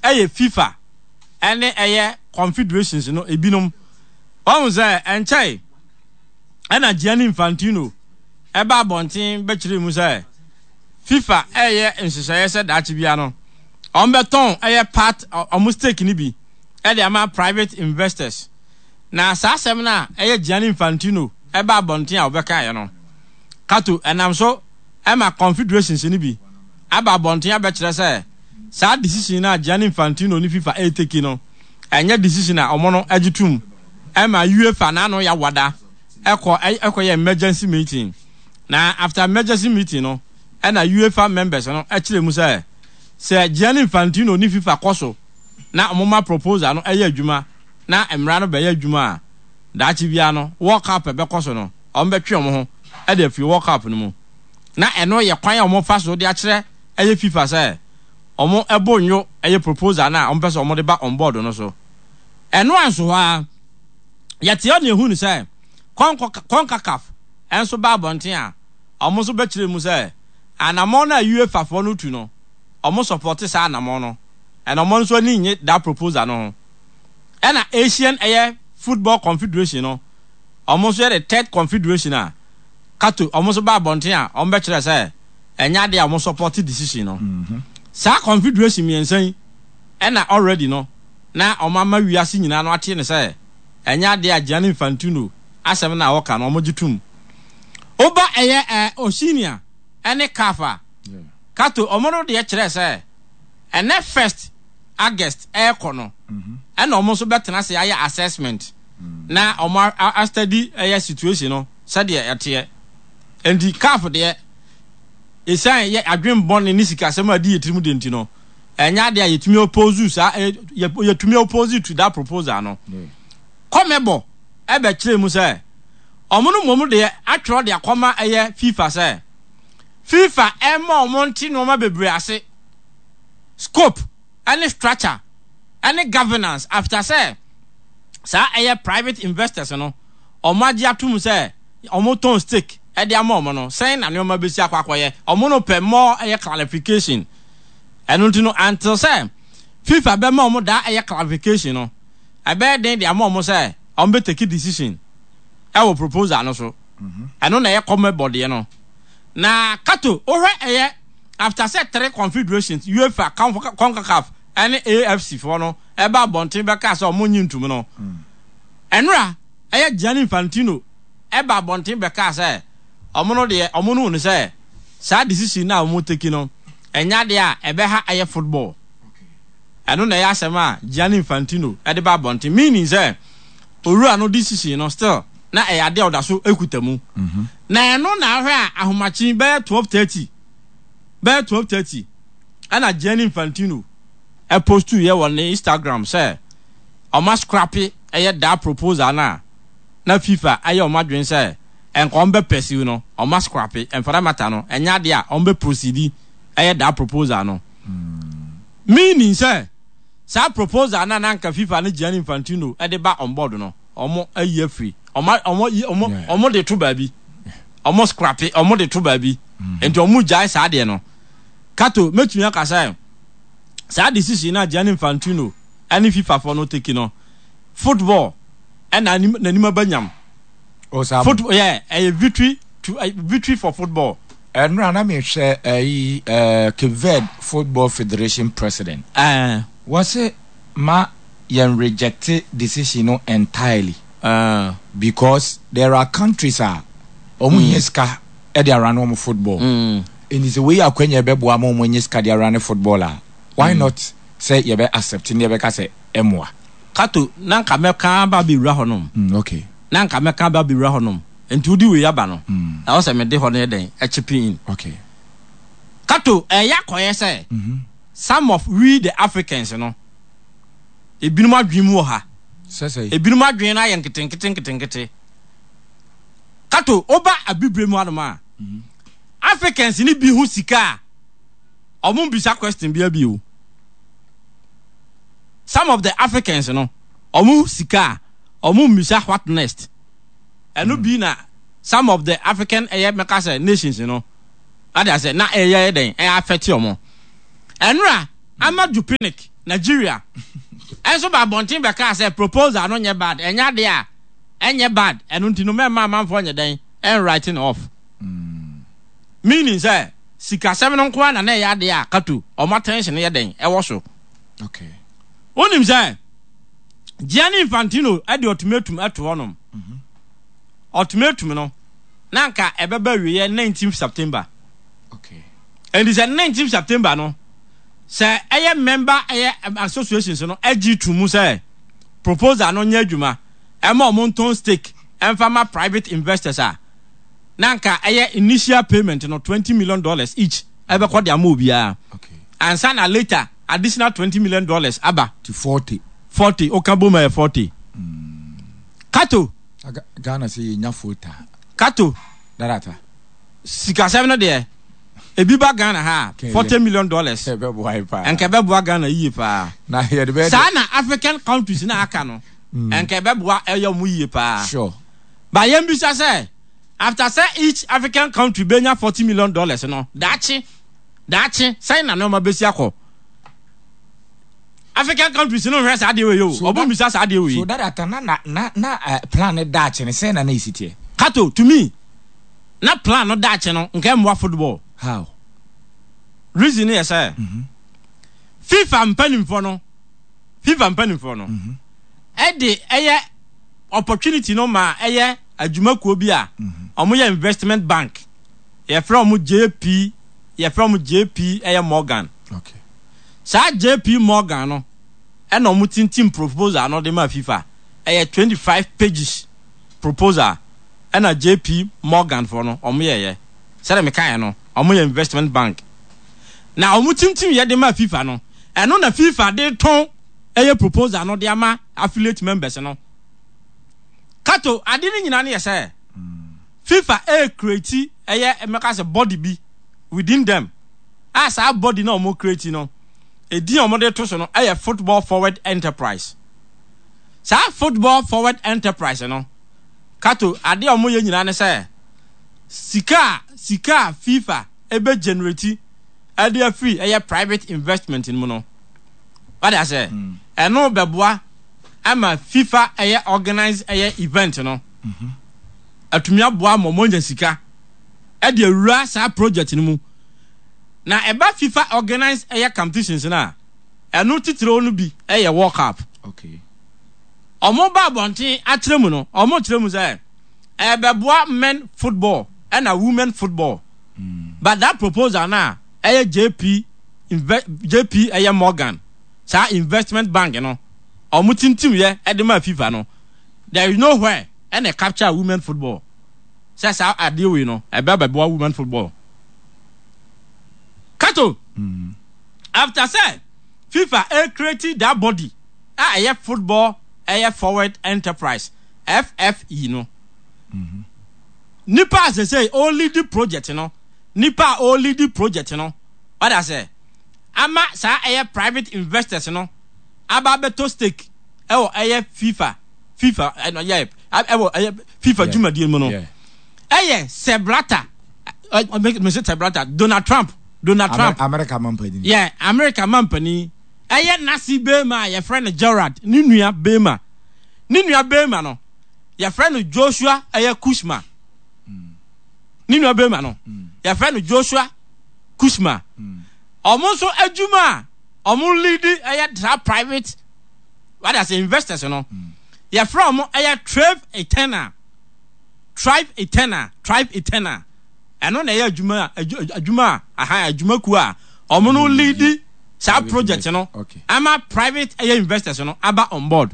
ɛyɛ FIFA ɛne ɛyɛ confederations no ebinom. Wɔn sɛ ɛnkyɛe ɛna Gianni Infantino ɛba abɔnten bɛkyerɛ mu sɛ FIFA ɛyɛ nhyehyɛeɛ sɛ daakye bia no wɔn bɛtɔn ɛyɛ part ɔmo stake ni bi ɛde ama private investors. Na saa asɛm no a ɛyɛ Gianni Infantino ɛba abɔnten a ɔbɛkaeɛ no, Kato, ɛnam so ɛma confederations no bi aba abɔnten abɛkyerɛ sɛ saa decision no a Gianni Infantino ne FIFA ɛretake no, ɛnyɛ decision a ɔmo no agye tom. Ɛma UEFA n'ano yawada ɛkɔ ɛkɔyɛ emergency meeting, na after emergency meeting no, ɛna UEFA members no ɛkyerɛ mu sɛ sɛ Gianni Infantino ne FIFA kɔ so na ɔmo ma proposal no ɛyɛ adwuma na mmara no bɛyɛ adwuma a, daakye bia no World Cup ɛbɛkɔ so no, ɔmo bɛtwe ɔmo ho ɛde afiri World Cup no mu. Na ɛno yɛ kwan a ɔmo fa so de akyerɛ ɛyɛ FIFA sɛ ɔmo ɛbɔ nyo ɛyɛ proposal na ɔmo pɛ sɛ ɔmo de ba on board no so. Ɛno anso hɔ a, yɛte hɔ na ehu no sɛ CONCACAF ɛnso ba abɔnten a ɔmo nso bɛkyerɛ mu sɛ anammɔn no a UEFA foɔ no tu no, ɔmo support saa anammɔn no, ɛna ɔmo nso ani nye that proposal no ho. Ɛna Asian ɛyɛ Football Confederation no, ɔmo nso yɛ the third confederation a, Kato, ɔmo nso ba abɔnten a ɔmo bɛkyerɛ sɛ ɛnyɛ adeɛ a ɔmo support decision no. Saa confederation mmiɛnsa yi ɛna already no na ɔmo ama wiase nyinaa no ate ne sɛ ɛnyɛ adeɛ a Gianni Infantino asɛm na ɔka no ɔmo gye tom. Woba ɛyɛ ɛ Oceania ɛne CAF a, Kato, ɔmo no deɛ kyerɛ sɛ ɛnɛ first August ɛɛkɔ no, ɛna ɔmo nso bɛtena ase ayɛ assessment na ɔmo astudy ɛyɛ situation no sɛdeɛ ɛteɛ. Nti CAF deɛ, esan yɛ adwen bɔne ne sikasɛm a di yɛ tirim de nti no, ɛnyɛ adeɛ a yɛtumi oppose saa, yɛtumi oppose to that proposal no. CONMEBOL ɛbɛkyerɛ mu sɛ ɔmo no mmom deɛ atwerɛ de akɔma ɛyɛ FIFA sɛ FIFA ɛma ɔmo nte nneɛma bebree ase, scope ɛne structure ɛne governance, after sɛ saa ɛyɛ private investors no ɔmo agye atum sɛ ɔmo tɔn stake ɛde ama ɔmo no, sɛn na nneɛma bɛsi akɔ akɔyɛ. Ɔmo no pɛ more ɛyɛ clarification. Ɛno nti no, until sɛ FIFA bɛma ɔmo daa ɛyɛ clarification no, ɛbɛyɛ den de ama ɔmo sɛ ɔmo bɛ take decision ɛwɔ proposal no so. Ɛno na ɛyɛ CONMEBOL deɛ no. Na Kato, wohwɛ ɛyɛ after sɛ three confederations, UEFA, CONCACAF ɛne A F C foɔ no ɛba abɔnten bɛka sɛ ɔmo nyi ntum no, ɛnora ɛyɛ Gianni Infantino ɛba abɔnten bɛka sɛ ɔmo no deɛ, ɔmo no no sɛ saa decision na ɔmo take no ɛnya deɛ a ɛbɛha ɛyɛ football. Ɛno na ɛyɛ asɛm a Gianni Infantino ɛde ba abɔnten, meaning sɛ owura no decision no still na ɛyɛ adeɛ a ɔda so ekuta mu. Na ɛno na ahwɛ a ahomakye bɛyɛ twelve thirty, bɛyɛ twelve thirty, ɛna Gianni Infantino ɛpost yɛ wɔ ne Instagram sɛ ɔma scrap ɛyɛ daa proposal na na FIFA ayɛ ɔmo adwene sɛ nka ɔmo bɛ pursue no. Ɔma scrap, ɛnfara mata no, ɛnyɛ adeɛ a ɔmo bɛ proceed ɛyɛ daa proposal no, meaning sɛ saa proposal na na nka FIFA ne Gianni Infantino ɛde ba on board no, ɔmo ayi afiri, ɔmo ɔmo ɔmo ɔmo de to baabi, ɔmo scrap, ɔmo de to baabi. Nti ɔmo gyae saa deɛ no. Kato, mɛtumi aka sɛ saa decision na Gianni Infantino ɛne FIFA fɔ no take no, football ɛna n'anim aba nyam. Football, yeah, ɛyɛ victory to uh, victory for football. Ɛnura na mehwɛ ɛyi ɛɛ Cape Verde Football Federation president. Uh, wɔsi ma yɛn reject decision no entirely Uh, because there are countries a wɔn mm. hia sika ɛde ara no wɔn football. Mm. Nti sɛ wei yɛ akwanya ɛbɛboa ma ɔmo nye sika de ara ne football a, why not sɛ yɛbɛ accept ne yɛbɛka sɛ ɛmoa? Kato, na nka mɛka ba bɛwura hɔ nom. Mm, okay. Na nka mɛka ba bɛwura hɔ nom, nti wodi wei aba no, ɛwɔ sɛ mede hɔ no yɛ dɛn ɛchip in. Okay. Kato, ɛyɛ akɔyɛ sɛ some of we the Africans no, ebinom adwene mu wɔ ha, Sɛ sɛ ebinom adwene no ayɛ nketenkete nketenkete. Kato, woba Abibire mu anom a, Africans ni bi ho sika a, ɔmo bisa question bia bi o. Some of the Africans no, ɔmo sika a, ɔmo mbisa what next. Ɛno bi na some of the African ɛyɛ mɛka sɛ nations no ade asɛ na ɛyɛ dɛn ɛyɛ affect ɔmo. Ɛnura Amaju Pinnick, Nigeria, ɛnso ba abɔnten bɛka sɛ proposal no nyɛ bad, ɛnyɛ ade a ɛnyɛ bad. Ɛno nti no mɛma amanfoɔ nyɛ dɛn ɛn writing off, meaning sɛ sikasɛm no nko ara na na ɛyɛ ade a Kato ɔmo attention yɛ dɛn ɛwɔ so. Okay. Wonim sɛ Gianni Infantino ɛde ultimatum ɛto hɔnom. Ultimatum no na nka ɛbɛba awieɛ nineteenth September. Okay. Ɛnti sɛ nineteenth September no, sɛ ɛyɛ member ɛyɛ associations no agye to mu sɛ proposal no nyɛ adwuma ɛma ɔmo ntɔn stake ɛmfa ma private investors a, na nka ɛyɛ initial payment no twenty million dollars each ɛbɛkɔ de ama obiara. Okay. Ansa na later additional twenty million dollars aba. To forty. Forty, oka bom ɛyɛ forty. Kato. Aga- Ghana sɛ yɛnya forty. Kato. Darata. Sikasɛm no deɛ, ebi ba Ghana ha a, forty million dollars ɛbɛboa yi paa. Ɛnka ɛbɛboa Ghana yie paa. Na yɛde bɛyɛ saa na African countries na aka no, ɛnka ɛbɛboa ɛyɛ ɔmo yie paa. Sure. Ba yɛn bisa sɛ after sɛ each African country benya forty million dollars no, daakye daakye sɛn na nneɛma bɛsi akɔ? African countries no nhwɛ saa adeɛ wei o, ɔmo mbisa saa adeɛ wei. So darata, na na na na uh, plan ne daakye ne sɛn na na esi teɛ? Kato, to me, na plan no daakye no nka mmoa football. How? Reason yɛ sɛ FIFA mpanimfoɔ no FIFA mpanimfoɔ no ɛde ɛyɛ opportunity no ma ɛyɛ adwumakuo bi a ɔmo yɛ investment bank, yɛfrɛ ɔmo J P yɛfrɛ ɔmo J P ɛyɛ Morgan. Okay. Saa J P Morgan no ɛna ɔmo tintim proposal no de ma FIFA. Ɛyɛ twenty five pages proposal ɛna J P Morgan foɔ no ɔmo yɛyɛ. Sɛdeɛ mekaeɛ no, ɔmo yɛ investment bank na ɔmo tintim yɛ de ma FIFA no. Ɛno na FIFA de tɔn ɛyɛ proposal no de ama affiliate members no. Kato, ade no nyinaa no yɛ sɛ FIFA ɛyɛ create ɛyɛ mɛka sɛ body bi within them a saa body na ɔmo create no, edin a ɔmo de to so no ɛyɛ Football Forward Enterprise. Saa Football Forward Enterprise no, Kato, ade a ɔmo yɛ nyinaa ne sɛ sika a sika a FIFA ebe generate ɛde afiri ɛyɛ private investment no mu no, wade asɛ ɛno bɛboa ama FIFA ɛyɛ organize ɛyɛ event no atumi aboa ma ɔmo anya sika ɛde awura saa project no mu. Na ɛba FIFA organize ɛyɛ competitions no a, ɛno titire no bi ɛyɛ World Cup. Okay. Ɔmo ba abɔnten akyerɛ mu no, ɔmo kyerɛ mu sɛ ɛbɛboa men football ɛna women football, but that proposal na ɛyɛ J P Inve J P ɛyɛ Morgan, saa investment bank no, ɔmo tintim yɛ ɛde ma FIFA no, there is nowhere ɛna capture women football sɛ saa adeɛ wei no ɛbɛ bɛboa women football. Kato, after sɛ FIFA ɛ create that body a ɛyɛ Football ɛyɛ Forward Enterprise, F F E no, nipa a sese ɔlead project no nipa a ɔlead project no ɔda sɛ ama saa ɛyɛ private investors no aba abɛtɔ stake ɛwɔ ɛyɛ fifa fifa ɛnɔ yɛ ɛwɔ ɛyɛ FIFA dwumadie mu no, ɛyɛ Sepp Blatter, ɛ mese Sepp Blatter, Donald Trump Donald Trump. America mampanin. Yɛ America mampanin ɛyɛ nasi bɛrima a yɛfrɛ no Gerard, ne nua bɛrima ne nua bɛrima no yɛfrɛ no Joshua ɛyɛ Kushner. Ne nua bɛrima no yɛfrɛ no Joshua Kushner. Ɔmo nso adwuma a ɔmo lead ɛyɛ saa private wada sɛ investors no, yɛfrɛ ɔmo ɛyɛ Thrive Eternal, Thrive Eternal, Thrive Eternal. Ɛno na ɛyɛ adwuma adwuma a aha adwumakuo a ɔmo no lead saa project no ama private ɛyɛ investors no aba on board.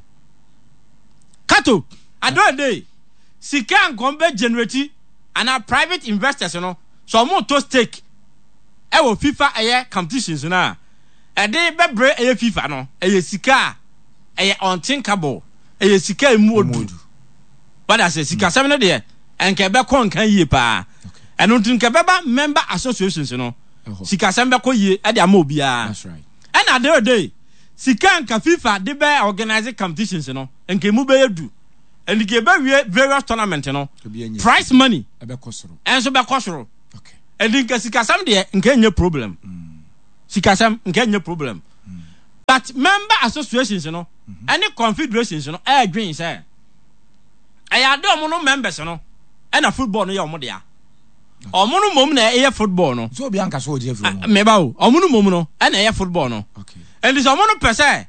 Kato adoade sika nkɔm bɛ generate ana private investors no so ɔmo to stake ɛwɔ FIFA ɛyɛ competitions no a ɛde bɛbrɛ ɛyɛ FIFA no ɛyɛ sika a ɛyɛ unthinkable, ɛyɛ sika emu odu. Wada sɛ sika sɛm no deɛ ɛnka ɛbɛkɔ nka yie paa. Ɛno nti nka ɛbɛba member associations no sika sɛm bɛkɔ yie ɛde ama obiara. Ɛna adeɛ sika nka FIFA de bɛ organize competitions no nka emu bɛyɛ du. Ɛnti nka ɛbɛwie various tournament no price money ɛnso bɛkɔ soro. Ɛnti nka sikasɛm deɛ nka ɛnyɛ problem. Sikasɛm nka ɛnyɛ problem. But member associations no ɛne confederations no ɛɛdwen sɛ ɛyɛ ade ɔmo no members no ɛna football no yɛ ɔmo dea. Ɔmo no mom na ɛyɛ football no. So obi anka so ɔgye afiri ɔmo. Meba o, ɔmo no mom no ɛna ɛyɛ football no. Ɛnti sɛ ɔmo no pɛ sɛ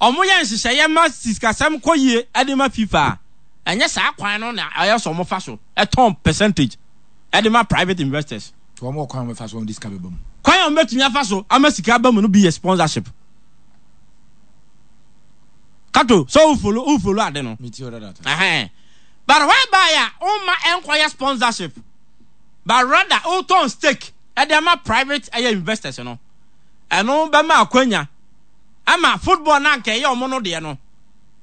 ɔmo yɛ nhyehyɛeɛ ma sikasɛm kɔ yie ɛde ma FIFA a, ɛnyɛ saa kwan no na ɛyɛ sɛ ɔmo fa so ɛtɔn percentage ɛde ma private investors. So ɔmo wɔ kwan a ɔmo fa so ɔmo de sika bɛba mu. Kwan a ɔmo bɛtumi afa so ama sika ba mu no bi yɛ sponsorship. Kato sɛ o follow o follow ade no. Mi ti o dada ta. Ɛhɛn. But whereby a ɔma ɛnkɔyɛ sponsorship, but rather ɔtɔn stake ɛde ama private ɛyɛ investors no, ɛno bɛma akwanya ama football na nka ɛyɛ ɔmo no deɛ no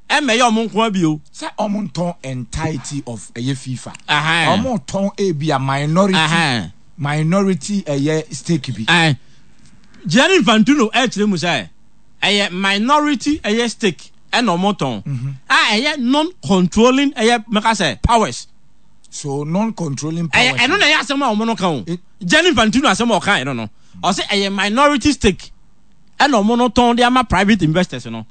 ɛmɛ ɛyɛ ɔmo nko abio. Sɛ ɔmo ntɔn entirety of ɛyɛ FIFA. Ɛhɛn. Ɔmo tɔn ebi a minority. Ɛhɛn. Minority ɛyɛ stake bi. Ɛn. Gianni Infantino ɛkyerɛ mu sɛ ɛyɛ minority ɛyɛ stake ɛna ɔmo tɔn a ɛyɛ non-controlling ɛyɛ mɛka sɛ powers. So non-controlling powers. Ɛyɛ ɛno na ɛyɛ asɛm a ɔmo no ka o. Gianni Infantino asɛm a ɔka yɛ no no ɔsɛ ɛyɛ minority stake ɛna ɔmo no tɔn de ama private investors no.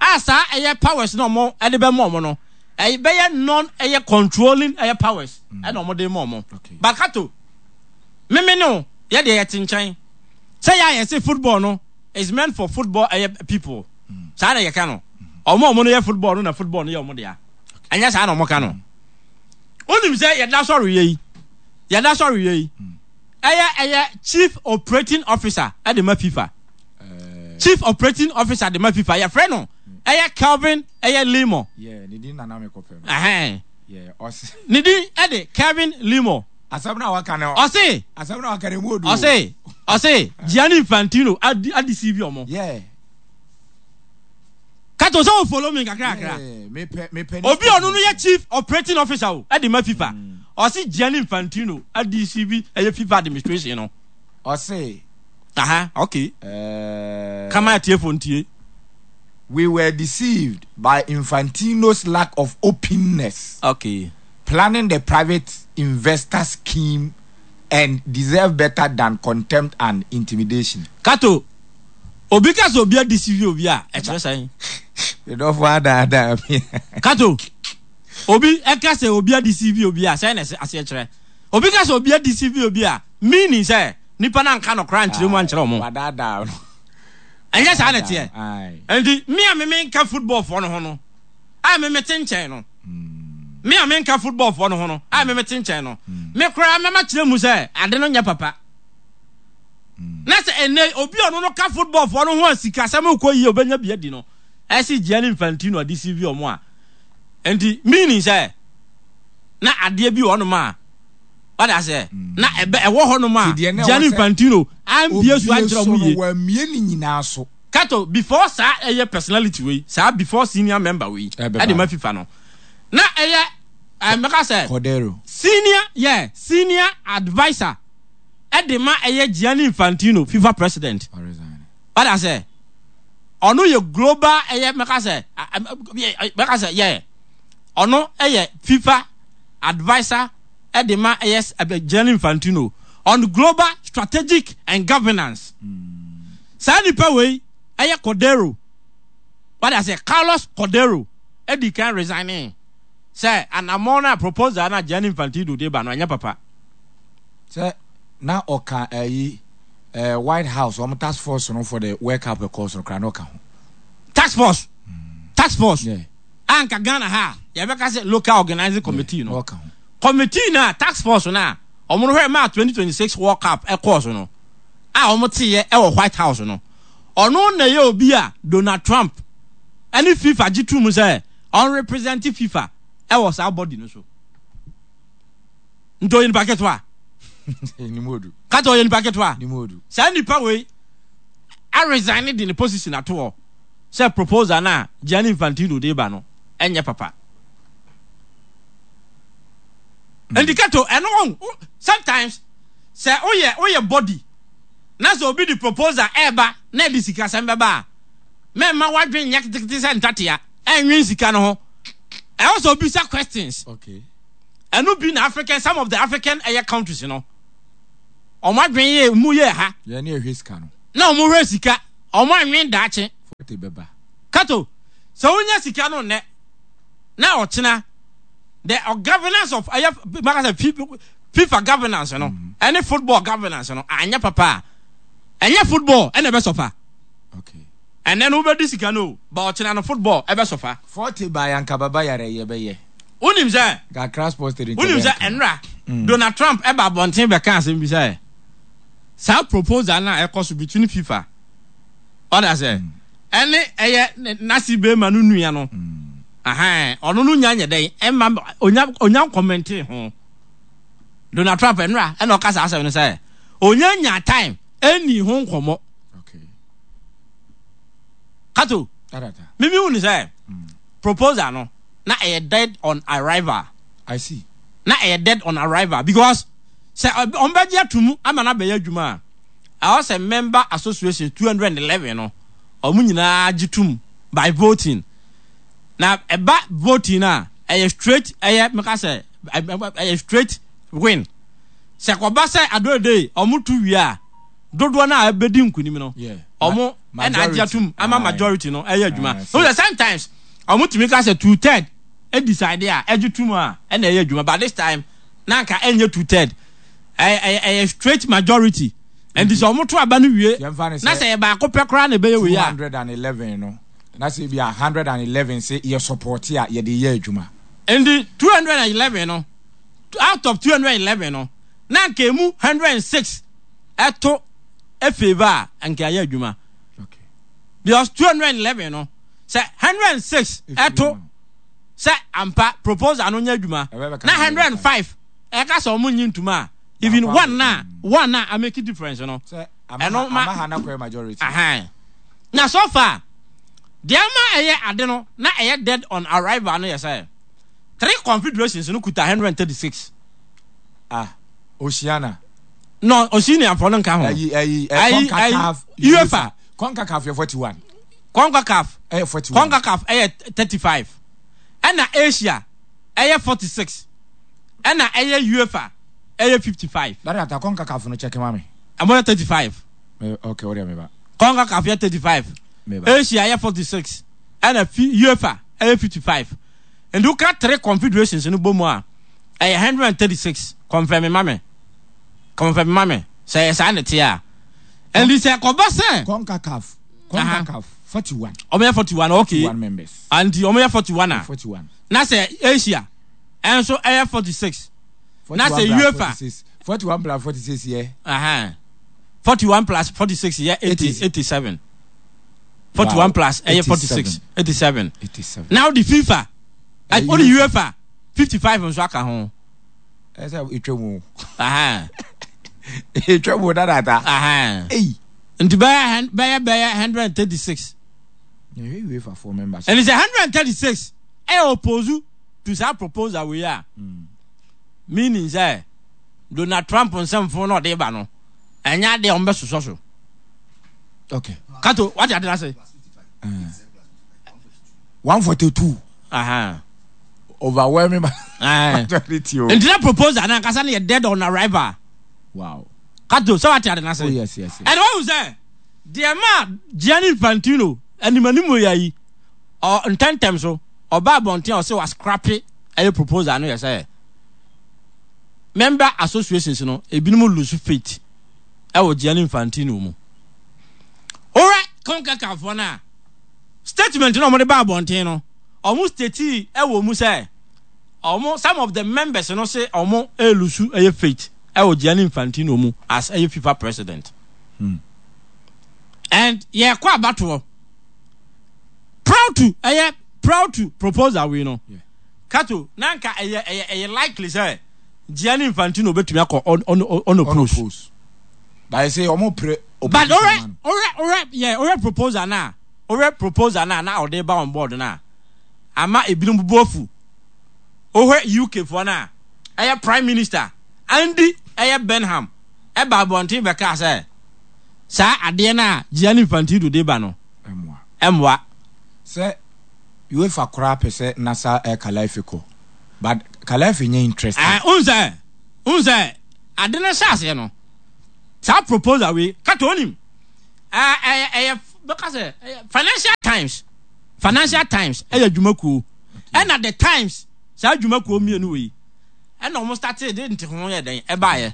A saa ɛyɛ powers na ɔmo ɛde bɛ mɔ ɔmo no ɛyɛ bɛyɛ non ɛyɛ controlling ɛyɛ powers ɛna ɔmo de mɔ ɔmo. Bakato mímí no yɛ deɛ yɛ te nkyɛn sɛ yɛ a yɛsɛ football no is meant for football ɛyɛ people. Saa na yɛka no. Ɔmo ɔmo no yɛ football no na football no yɛ ɔmo dea. Ɛnyɛ saa na ɔmo ka no. Onim sɛ yɛda sɔre yɛ yi. Yɛda sɔre yɛ yi. Ɛyɛ ɛyɛ chief operating officer ɛde ma FIFA. Chief operating officer de ma FIFA. Yɛfrɛ no ɛyɛ Kelvin ɛyɛ Limo. Yeah, ne din nana me kɔpɛ no. Ɛhɛn. Yeah, ɔse. Ne din ɛde Kelvin Limo. Asɛm na waka no. Ɔse. Asɛm na waka no emu odu. Ɔse. Ɔse Gianni Infantino adi adi C V ɔmo. Yeah. Kato sɛ o follow me kakra kakra. Yeah, me pɛ me pɛ. Obi ɔno no yɛ chief operating officer o ɛde ma FIFA. Ɔse Gianni Infantino adi C V ɛyɛ FIFA administration no. Ɔse. Aha, okay. Uh, Kama atiefo ntie. We were deceived by Infantino's lack of openness. Okay. Planning the private investor scheme and deserve better than contempt and intimidation. Kato, obi ka sɛ obi adeceive obi a, ɛkyerɛ sɛn? Medɔfo adaadaa me. Kato, obi ɛka sɛ obi adeceive obi a, sɛn na aseɛ kyerɛ? Obi ka sɛ obi adeceive obi a, meaning sɛ nipa na nka nɔkora nkyerɛ mu ankyerɛ ɔmo. Wadaadaa no. Ɛnyɛ saa na ɛteɛ. Nti me a me menka football foɔ no ho no, a me mete nkyɛn no, me a menka football foɔ no ho no, a me mete nkyɛn no, me koraa mɛma kyerɛ mu sɛ ade no nyɛ papa. Na sɛ ɛnɛ obi ɔno no ka football foɔ no ho a sikasɛm kɔ yie obɛnya bi adi no, ɛsi Gianni Infantino ade si vi ɔmo a. Nti meaning sɛ na adeɛ bi wɔ hɔnom a wada sɛ na ɛbɛ ɛwɔ hɔnom a Gianni Infantino ambie so ankyerɛ ɔmo yie. Wamie ne nyinaa so. Kato before saa ɛyɛ personality wei saa before senior member wei ɛde ma FIFA no na ɛyɛ ɛmɛka sɛ Cordero senior yeah senior adviser ɛde ma ɛyɛ Gianni Infantino FIFA president. Wada sɛ ɔno yɛ global ɛyɛ mɛka sɛ mɛka sɛ yɛ ɔno ɛyɛ FIFA adviser ɛde ma ɛyɛ Gianni Infantino on global strategic and governance. Saa nipa wei ɛyɛ Cordero. Wada sɛ Carlos Cordero ɛdi kan resigning sɛ anamɔ na proposal na Gianni Infantino de ba no ɛnyɛ papa. Sɛ na ɔka ɛyi eh, White House ɔmo task force no for the World Cup ɛkɔɔ so no kora na ɔka ho. Task force. Mm. Task force. Yeah. Anka Ghana ha yɛbɛka sɛ local organizing committee no. Ɔka ho. Committee na task force na Ɔmo no hwɛ maa twenty twenty six World Cup ɛkɔɔ so no a ɔmo teeɛ ɛwɔ White House no, ɔno na ɛyɛ obi a Donald Trump ɛne FIFA gye tum sɛ ɔn represent FIFA ɛwɔ saa body no so. Nti ɔyɛ nipa ketewa. Kata ɔyɛ nipa ketewa. Saa nipa wei aresign de ne position ato hɔ sɛ proposal no a Gianni Infantino de ba no ɛnyɛ papa. Nti Kato, ɛno wɔn sometimes sɛ woyɛ woyɛ body na sɛ obi de proposal ɛɛba na ɛde sikasɛm bɛba a, mɛmma wadwen nyɛ ketekete sɛ ntatea ɛnwen sika no ho. Ɛwɔ sɛ obisa questions. Okay. Ɛno bi na African, some of the African ɛyɛ countries no, ɔmo adwen yɛ mu yɛ ha. Yɛn ne ɛhwɛ sika no. Na ɔmo hwɛ sika, ɔmo anwen daakye. Forty bɛba. Kato, sɛ wonya sika no nnɛ na ɔkyena the governance of ɛyɛ maka sɛ FIFA governance no ɛne football governance no anyɛ papa a, ɛnyɛ football ɛna ɛbɛ sɔfa. Okay. Ɛnɛ no wobɛdi sika no, ba ɔkyena no football ɛbɛ sɔfa. Forty ba yanka baba yare yɛ bɛyɛ. Wonim sɛ Accra Sports Stadium. Wonim sɛ ɛnra Donald Trump ɛba abɔnten bɛka asɛm bi sɛ saa proposal na ɛkɔ so between FIFA ɔda sɛ ɛne ɛyɛ nasi bɛrima no nua no, ahan ɔno no nya nyɛ dɛn ɛma onya onya nkɔmɛnte ho. Donald Trump ɛnra ɛna ɔka saa asɛm no sɛ onya nya time ɛni ho nkɔmɔ. Kato, mimi hu ni sɛ proposal no na ɛyɛ dead on arrival. I see. Na ɛyɛ dead on arrival because sɛ ɔmo bɛgye atum ama na bɛyɛ adwuma a, ɛwɔ sɛ member association two hundred and eleven no ɔmo nyinaa gye tum by voting. Na ɛba voting a, ɛyɛ straight, ɛyɛ meka sɛ ɛyɛ straight win. Sɛ kɔba sɛ adoede ɔmo tu wie a, dodoɔ no a ɛbɛdi nkunim no ɔmo ɛna agye atum ama majority no ɛyɛ adwuma. So sometimes ɔmo tumi ka sɛ two third decide a ɛgye tum a ɛna ɛyɛ adwuma, but this time na nka ɛnyɛ two third, ɛyɛ ɛyɛ straight majority. Nti sɛ ɔmo to aba no wie na sɛ yɛ baako pɛ koraa na ɛbɛyɛ wei a, two hundred and eleven no na sɛ bi a hundred and eleven sɛ yɛ support a yɛde yɛ adwuma. Nti two hundred and eleven no, out of two hundred and eleven no, na nka emu hundred and six ɛto efavour a, nka ɛyɛ adwuma. Because two hundred and eleven no, sɛ hundred and six ɛto sɛ ampa proposal no nyɛ adwuma na hundred and five ɛka sɛ ɔmo nyi ntoma a, even one na one na a make difference no, ɛno ma ahan. Na so far deɛ ama ɛyɛ ade no na ɛyɛ dead on arrival no yɛ sɛ three confederations no kuta hundred and thirty six. Ah, Oceania. No, Oceania fo no nka ho. Ayi ayi CONCACAF, UEFA. CONCACAF yɛ forty one. CONCACAF ɛyɛ forty one. CONCACAF ɛyɛ thirty five. Ɛna Asia ɛyɛ forty six. Ɛna ɛyɛ UEFA ɛyɛ fifty five. Dada ata CONCACAF no check ma me. Ɛmo yɛ thirty five. Okay, o de mi ba. CONCACAF yɛ thirty five. Asia yɛ forty six. Ɛna UEFA ɛyɛ fifty five. Nti woka three confederations no bɔ mu a, ɛyɛ hundred and thirty six. Confirm ma me. Confirm ma me. Sɛ ɛyɛ saa ne te a. Nti sɛ kɔba sɛ CONCACAF CONCACAF forty one. Ɔmo yɛ forty one, okay. forty one members. Nti ɔmo yɛ forty one a. forty one. Na sɛ Asia ɛnso ɛyɛ forty six. Na sɛ UEFA forty one plus forty six yɛ. forty one plus forty six yɛ eighty eighty seven. forty one plus ɛyɛ forty six, eighty seven. Now the FIFA, o de UEFA fifty five nso aka ho. Ɛsɛ etwa mu. Etwa mu dadata. Nti bɛyɛ bɛyɛ bɛyɛ hundred and thirty six. UEFA four members. Ɛni sɛ hundred and thirty six ɛyɛ oppose to saa proposal wei a, meaning sɛ Donald Trump nsɛmfo na ɔde ba no ɛnyɛ adeɛ a wɔn bɛ sosɔ so. Okay. Kato, wate ade ase? one forty two. Uh-huh. Overwhelming majority. Nti na proposal na nkasa no yɛ dead on arrival. Wow. Kato, sɛ wate ade ase? Oh yes, yes. Ɛna wɔn sɛ deɛ ma Gianni Infantino animanim wɔ yɛ yi, ɔ ntɛntɛm so ɔba abɔnten a ɔsɛ wa scrap ɛyɛ proposal no yɛ sɛ member associations no ebinom lose faith ɛwɔ Gianni Infantino mu. Owurɛ CONCACAF no a statement na ɔmo de ba abɔnten no, ɔmo state ɛwɔ mu sɛ ɔmo some of the members no say ɔmo elose ɛyɛ faith ɛwɔ Gianni Infantino mu as ɛyɛ FIFA president. Hmm. And yɛkɔ abatoɔ proud to ɛyɛ proud to proposal wei no. Yeah. Kato na nka ɛyɛ ɛyɛ ɛyɛ likely sɛ Gianni Infantino obetumi akɔ on on on oppose. But I say ɔmo pre But ɔrɛ ɔrɛ ɔrɛ yɛ ɔrɛ proposal na ɔrɛ proposal na na ɔde ba on board na ama ebinom bu afu. Ɔhwɛ U K foɔ na ɛyɛ Prime Minister Andy ɛyɛ Burnham ɛba abɔnten bɛka sɛ saa adeɛ na Gianni Infantino de ba no ɛmoa. Ɛmoa. Sɛ UEFA koraa pɛ sɛ Nasser El Khelaifi kɔ, but Khelaifi nyɛ interested. Eh, unse, unse, ade no hyɛ aseɛ no, saa proposal wei, kata onim, eh, eh, eh, bɛka sɛ, eh, Financial Times, Financial Times, ɛyɛ dwumakuo, ɛna The Times, saa dwumakuo mmienu wei, ɛna ɔmo started de nte ho yɛ dɛn, ɛbaeɛ.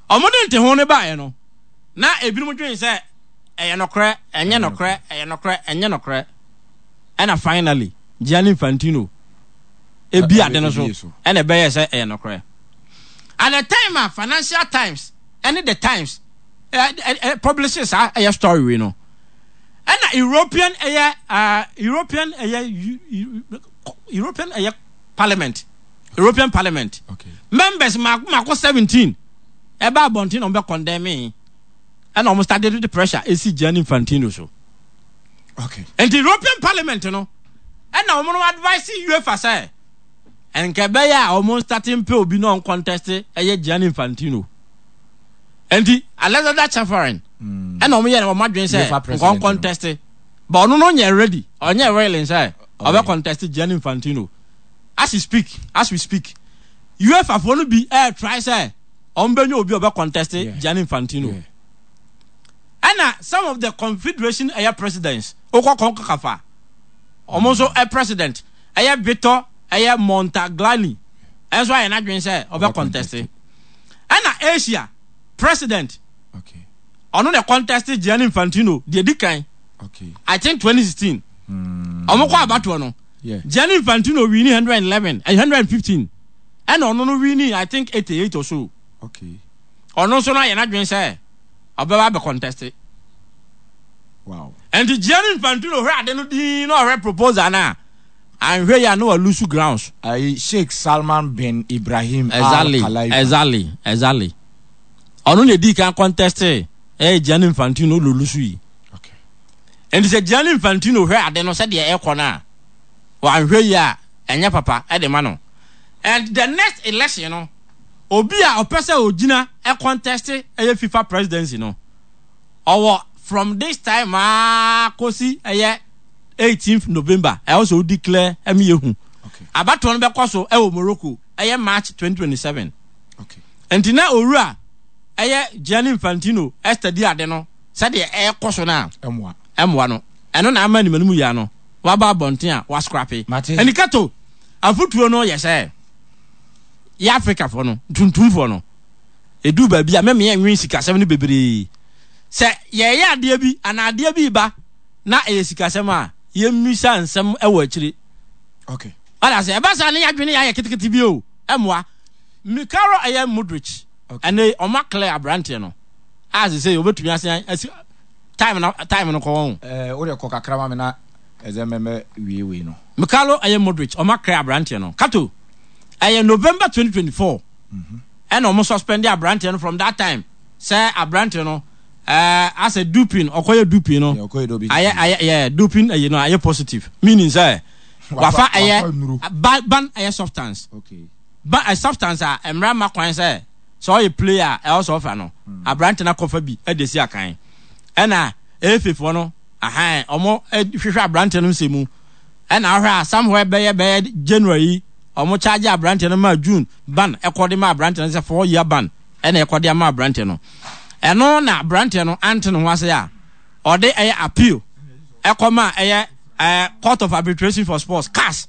Ɔmo de nte ho no baeɛ no, na ebinom dwen sɛ, ɛyɛ nokorɛ, ɛnyɛ nokorɛ, ɛyɛ nokorɛ, ɛnyɛ nokorɛ. Ɛna finally, Gianni Infantino ebi ade no so, ɛna ɛbɛyɛ sɛ ɛyɛ nokorɛ. At the time a Financial Times ɛne The Times ɛ, ɛ, ɛ, publish saa ɛyɛ story wei no, ɛna European ɛyɛ, uh, European ɛyɛ, European ɛyɛ Parliament, European Parliament okay. members mako mako seventeen ɛba abɔnten na wɔn bɛ condemn me, ɛna wɔn started the pressure esi Gianni Infantino so. Okay. And the European Parliament no, ɛna wɔn no advice UEFA sɛ, nka ɛbɛyɛ a wɔn starting pay obi na wɔn contest ɛyɛ Gianni Infantino. Nti Alexander Ceferin ɛna wɔn yɛ wɔn adwene sɛ UEFA president nkɔn contest, but ɔno no nyɛ ready, ɔnyɛ willing sɛ ɔbɛ contest Gianni Infantino. As we speak, as we speak, UEFA foɔ no bi ɛɛ try sɛ wɔn bɛ nye obi a ɔbɛ contest Gianni Infantino. Yeah. Ɛna some of the confederation ɛyɛ presidents okɔ kɔnkakafa ɔmo nso ɛ president ɛyɛ Victor ɛyɛ Montaglani ɛnso ayɛ n'adwene sɛ ɔbɛ contest. Ɛna Asia president Okay. ɔno na contest Gianni Infantino deɛ di kan. Okay. I think twenty sixteen. Ɔmo kɔ abatoɔ no. Yeah. Gianni Infantino winni hundred and eleven, eh, hundred and fifteen. Ɛna ɔno no winni I think eighty-eight or so. Okay. Ɔno nso no ayɛ n'adwene sɛ ɔbɛba abɛ contest. Wow. And Gianni Infantino hwɛ ade no din na ɔhwɛ proposal na anhwɛ yi a na walusu grounds. Ayi Sheikh Salman bin Ibrahim Al Exactly, Khalifa. exactly, exactly. Ɔno na edi kan contest ɛyɛ Gianni Infantino lolusu yi. Okay. And sɛ Gianni Infantino hwɛ ade no sɛdeɛ ɛkɔ no a wanhwɛ yi a ɛnyɛ papa ɛde ma no. And the next election no, obi a ɔpɛ sɛ ogyina ɛ contest ɛyɛ FIFA presidency no, ɔwɔ from this time aa kosi ɛyɛ eighteenth November ɛwɔ sɛ o declare ɛmi ehu. Okay. Abatoɔ no bɛkɔ so ɛwɔ Morocco ɛyɛ March twenty twenty-seven. Okay. Nti na owura ɛyɛ Gianni Infantino ɛstudy ade no sɛdeɛ ɛkɔ so na Ɛmoa. ɛmoa no. Ɛno na ama animanim yia no waba abɔnten a wascrape. Mate. Ɛni kato afotuo no yɛ sɛ yɛ Africafoɔ no tuntumfoɔ no edu baabi a mɛmɛ yɛn nwi sikasɛm no bebree sɛ yɛyɛ adeɛ bi anaa adeɛ bi ba na ɛyɛ sikasɛm a yɛmmisa nsɛm ɛwɔ akyire. Okay. Ɔda sɛ ɛba saa ne yɛadwene yɛ ayɛ ketekete bi o ɛmoa. Mykhailo ɛyɛ Mudryk. Okay. Ɛnɛ ɔmo clear aberanteɛ no a sɛ sɛ obetumi asen asi time no time no kɔ wɔn. Eh, wo de kɔ kakra ma me na ɛsɛ mɛmɛ wie wei no. Mykhailo ɛyɛ Mudryk ɔmo clear aberanteɛ no kato ɛyɛ November twenty twenty-four. Mm-hmm. Ɛna ɔmo suspend aberanteɛ no from that time sɛ aberanteɛ no ɛɛ asɛ doping ɔkɔyɛ doping no. Yeah, ɔkɔyɛ doping. Ayɛ ayɛ yɛ doping ɛyɛ no ayɛ positive meaning sɛ Wafa- wafa ɛyɛ wafa nnuro. ba ban ɛyɛ substance. Okay. Ba a substance a mmara ma kwan sɛ sɛ ɔyɛ player a ɛwɔ sɛ ɔfa no aberante no akɔfa bi ɛde si akan ɛna efe foɔ no ahan ɔmo hwehwɛ aberante no nsɛm mu ɛna ahwɛ a somewhere bɛyɛ bɛyɛ January yi ɔmo charge aberante no ma June ban ɛkɔ de ma aberante no sɛ four year ban ɛna ɛkɔ de ama aberante no ɛno na aberante no ante ne ho ase a ɔde ɛyɛ appeal ɛkɔ ma ɛyɛ ɛɛ Court of Arbitration for Sports C A S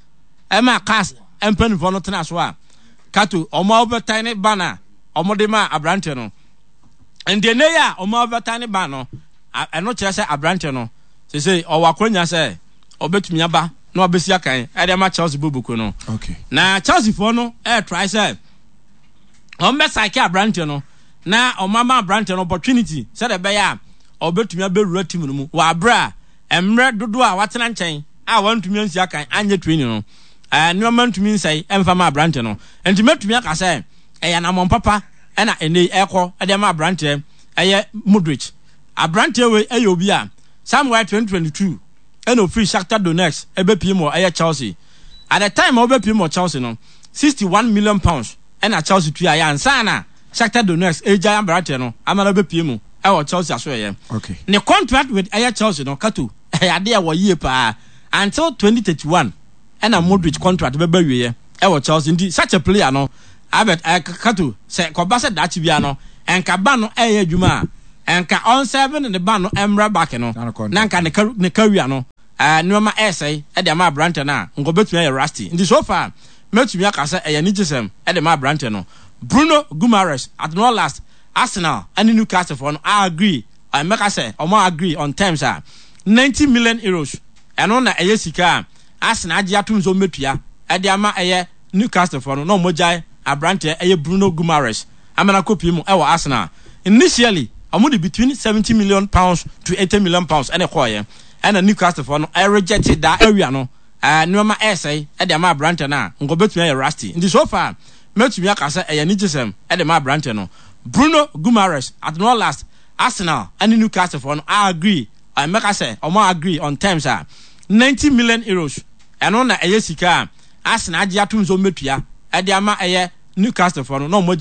ɛma C A S mpanimfoɔ no tena so a kato ɔmo overturn ne ban a ɔmo de ma aberante no nti ne yɛ a ɔmo overturn ne ban no a- ɛno kyerɛ sɛ aberante no sese ɔwɔ akɔnya sɛ ɔbɛtumi aba na ɔbɛsi akan ɛde ama Chelsea boboko no. Okay. Na Chelsea foɔ no ɛɛ try sɛ Wɔn bɛ saake aberanteɛ no na wɔn ama aberanteɛ no opportunity sɛdeɛ ɛbɛyɛ a ɔbɛtumi abɛwura team no mu wɔ abere a mmerɛ dodoɔ a watena nkyɛn a wɔntumi ansi akan anyɛ training no, ɛɛ nneɛma ntumi nsɛe ɛmfa ma aberanteɛ no. Nti mɛtumi aka sɛ ɛyɛ anammɔn papa ɛna ɛnɛ yi ɛkɔ ɛde ama aberanteɛ ɛyɛ Mudryk. Aberanteɛ wei ɛyɛ obi a somewhere twenty twenty-two ɛna ofiri Shakhtar Donetsk ɛbɛpie mu wɔ ɛyɛ Chelsea. At the time a ɔbɛpie mu wɔ Chelsea no, sixty-one million pounds ɛna Chelsea tua yɛ ansa na Shakhtar Donetsk ɛgya aberanteɛ no ama no bɛpie mu ɛwɔ Chelsea aso ɛyɛ. Okay. Ne contract with ɛyɛ Chelsea no, Kato, ɛyɛ adeɛ ɛwɔ yie paa until twenty thirty-one ɛna Mudryk contract bɛba wieɛ ɛwɔ Chelsea. Nti such a player no, Albert, ɛɛ Kato, sɛ kɔba sɛ daakye bia no ɛnka ba no ɛyɛ adwuma a ɛnka ɔnsɛbe ne ba no ɛmra back no na nka ne ka ne career no, ɛɛ nneɛma ɛɛsɛe ɛde ama aberante no a nka ɔbɛtumi ayɛ rusty. Nti so far mɛtumi aka sɛ ɛyɛ anigyesɛm ɛde ma aberante no. Bruno Guimaraes, at no last Arsenal ɛne Newcastle foɔ no agree, ɛmɛka sɛ ɔmo agree on terms a ninety million euros, ɛno na ɛyɛ sika a Arsenal agye atum nso mɛtua ɛde ama ɛyɛ Newcastle foɔ no na ɔmo gyae aberanteɛ ɛyɛ Bruno Guimaraes amana kɔpie mu ɛwɔ Arsenal. Initially ɔmo de between seventy million pounds to eighty million pounds ɛna ɛkɔɔyɛ, ɛna Newcastle foɔ no ɛreject daa area no. ɛɛ nneɛma ɛɛsɛe ɛde ama aberanteɛ no a nka ɔbɛtumi ayɛ rusty. Nti so far mɛtumi aka sɛ ɛyɛ anigyesɛm ɛde ma aberanteɛ no. Bruno Guimaraes, at no last Arsenal ɛne Newcastle foɔ no agree, ɛmɛka sɛ ɔmo agree on terms a ninety million euros, ɛno na ɛyɛ sika a Arsenal agye atum nso mɛtua ɛde ama ɛyɛ Newcastle foɔ no na ɔmo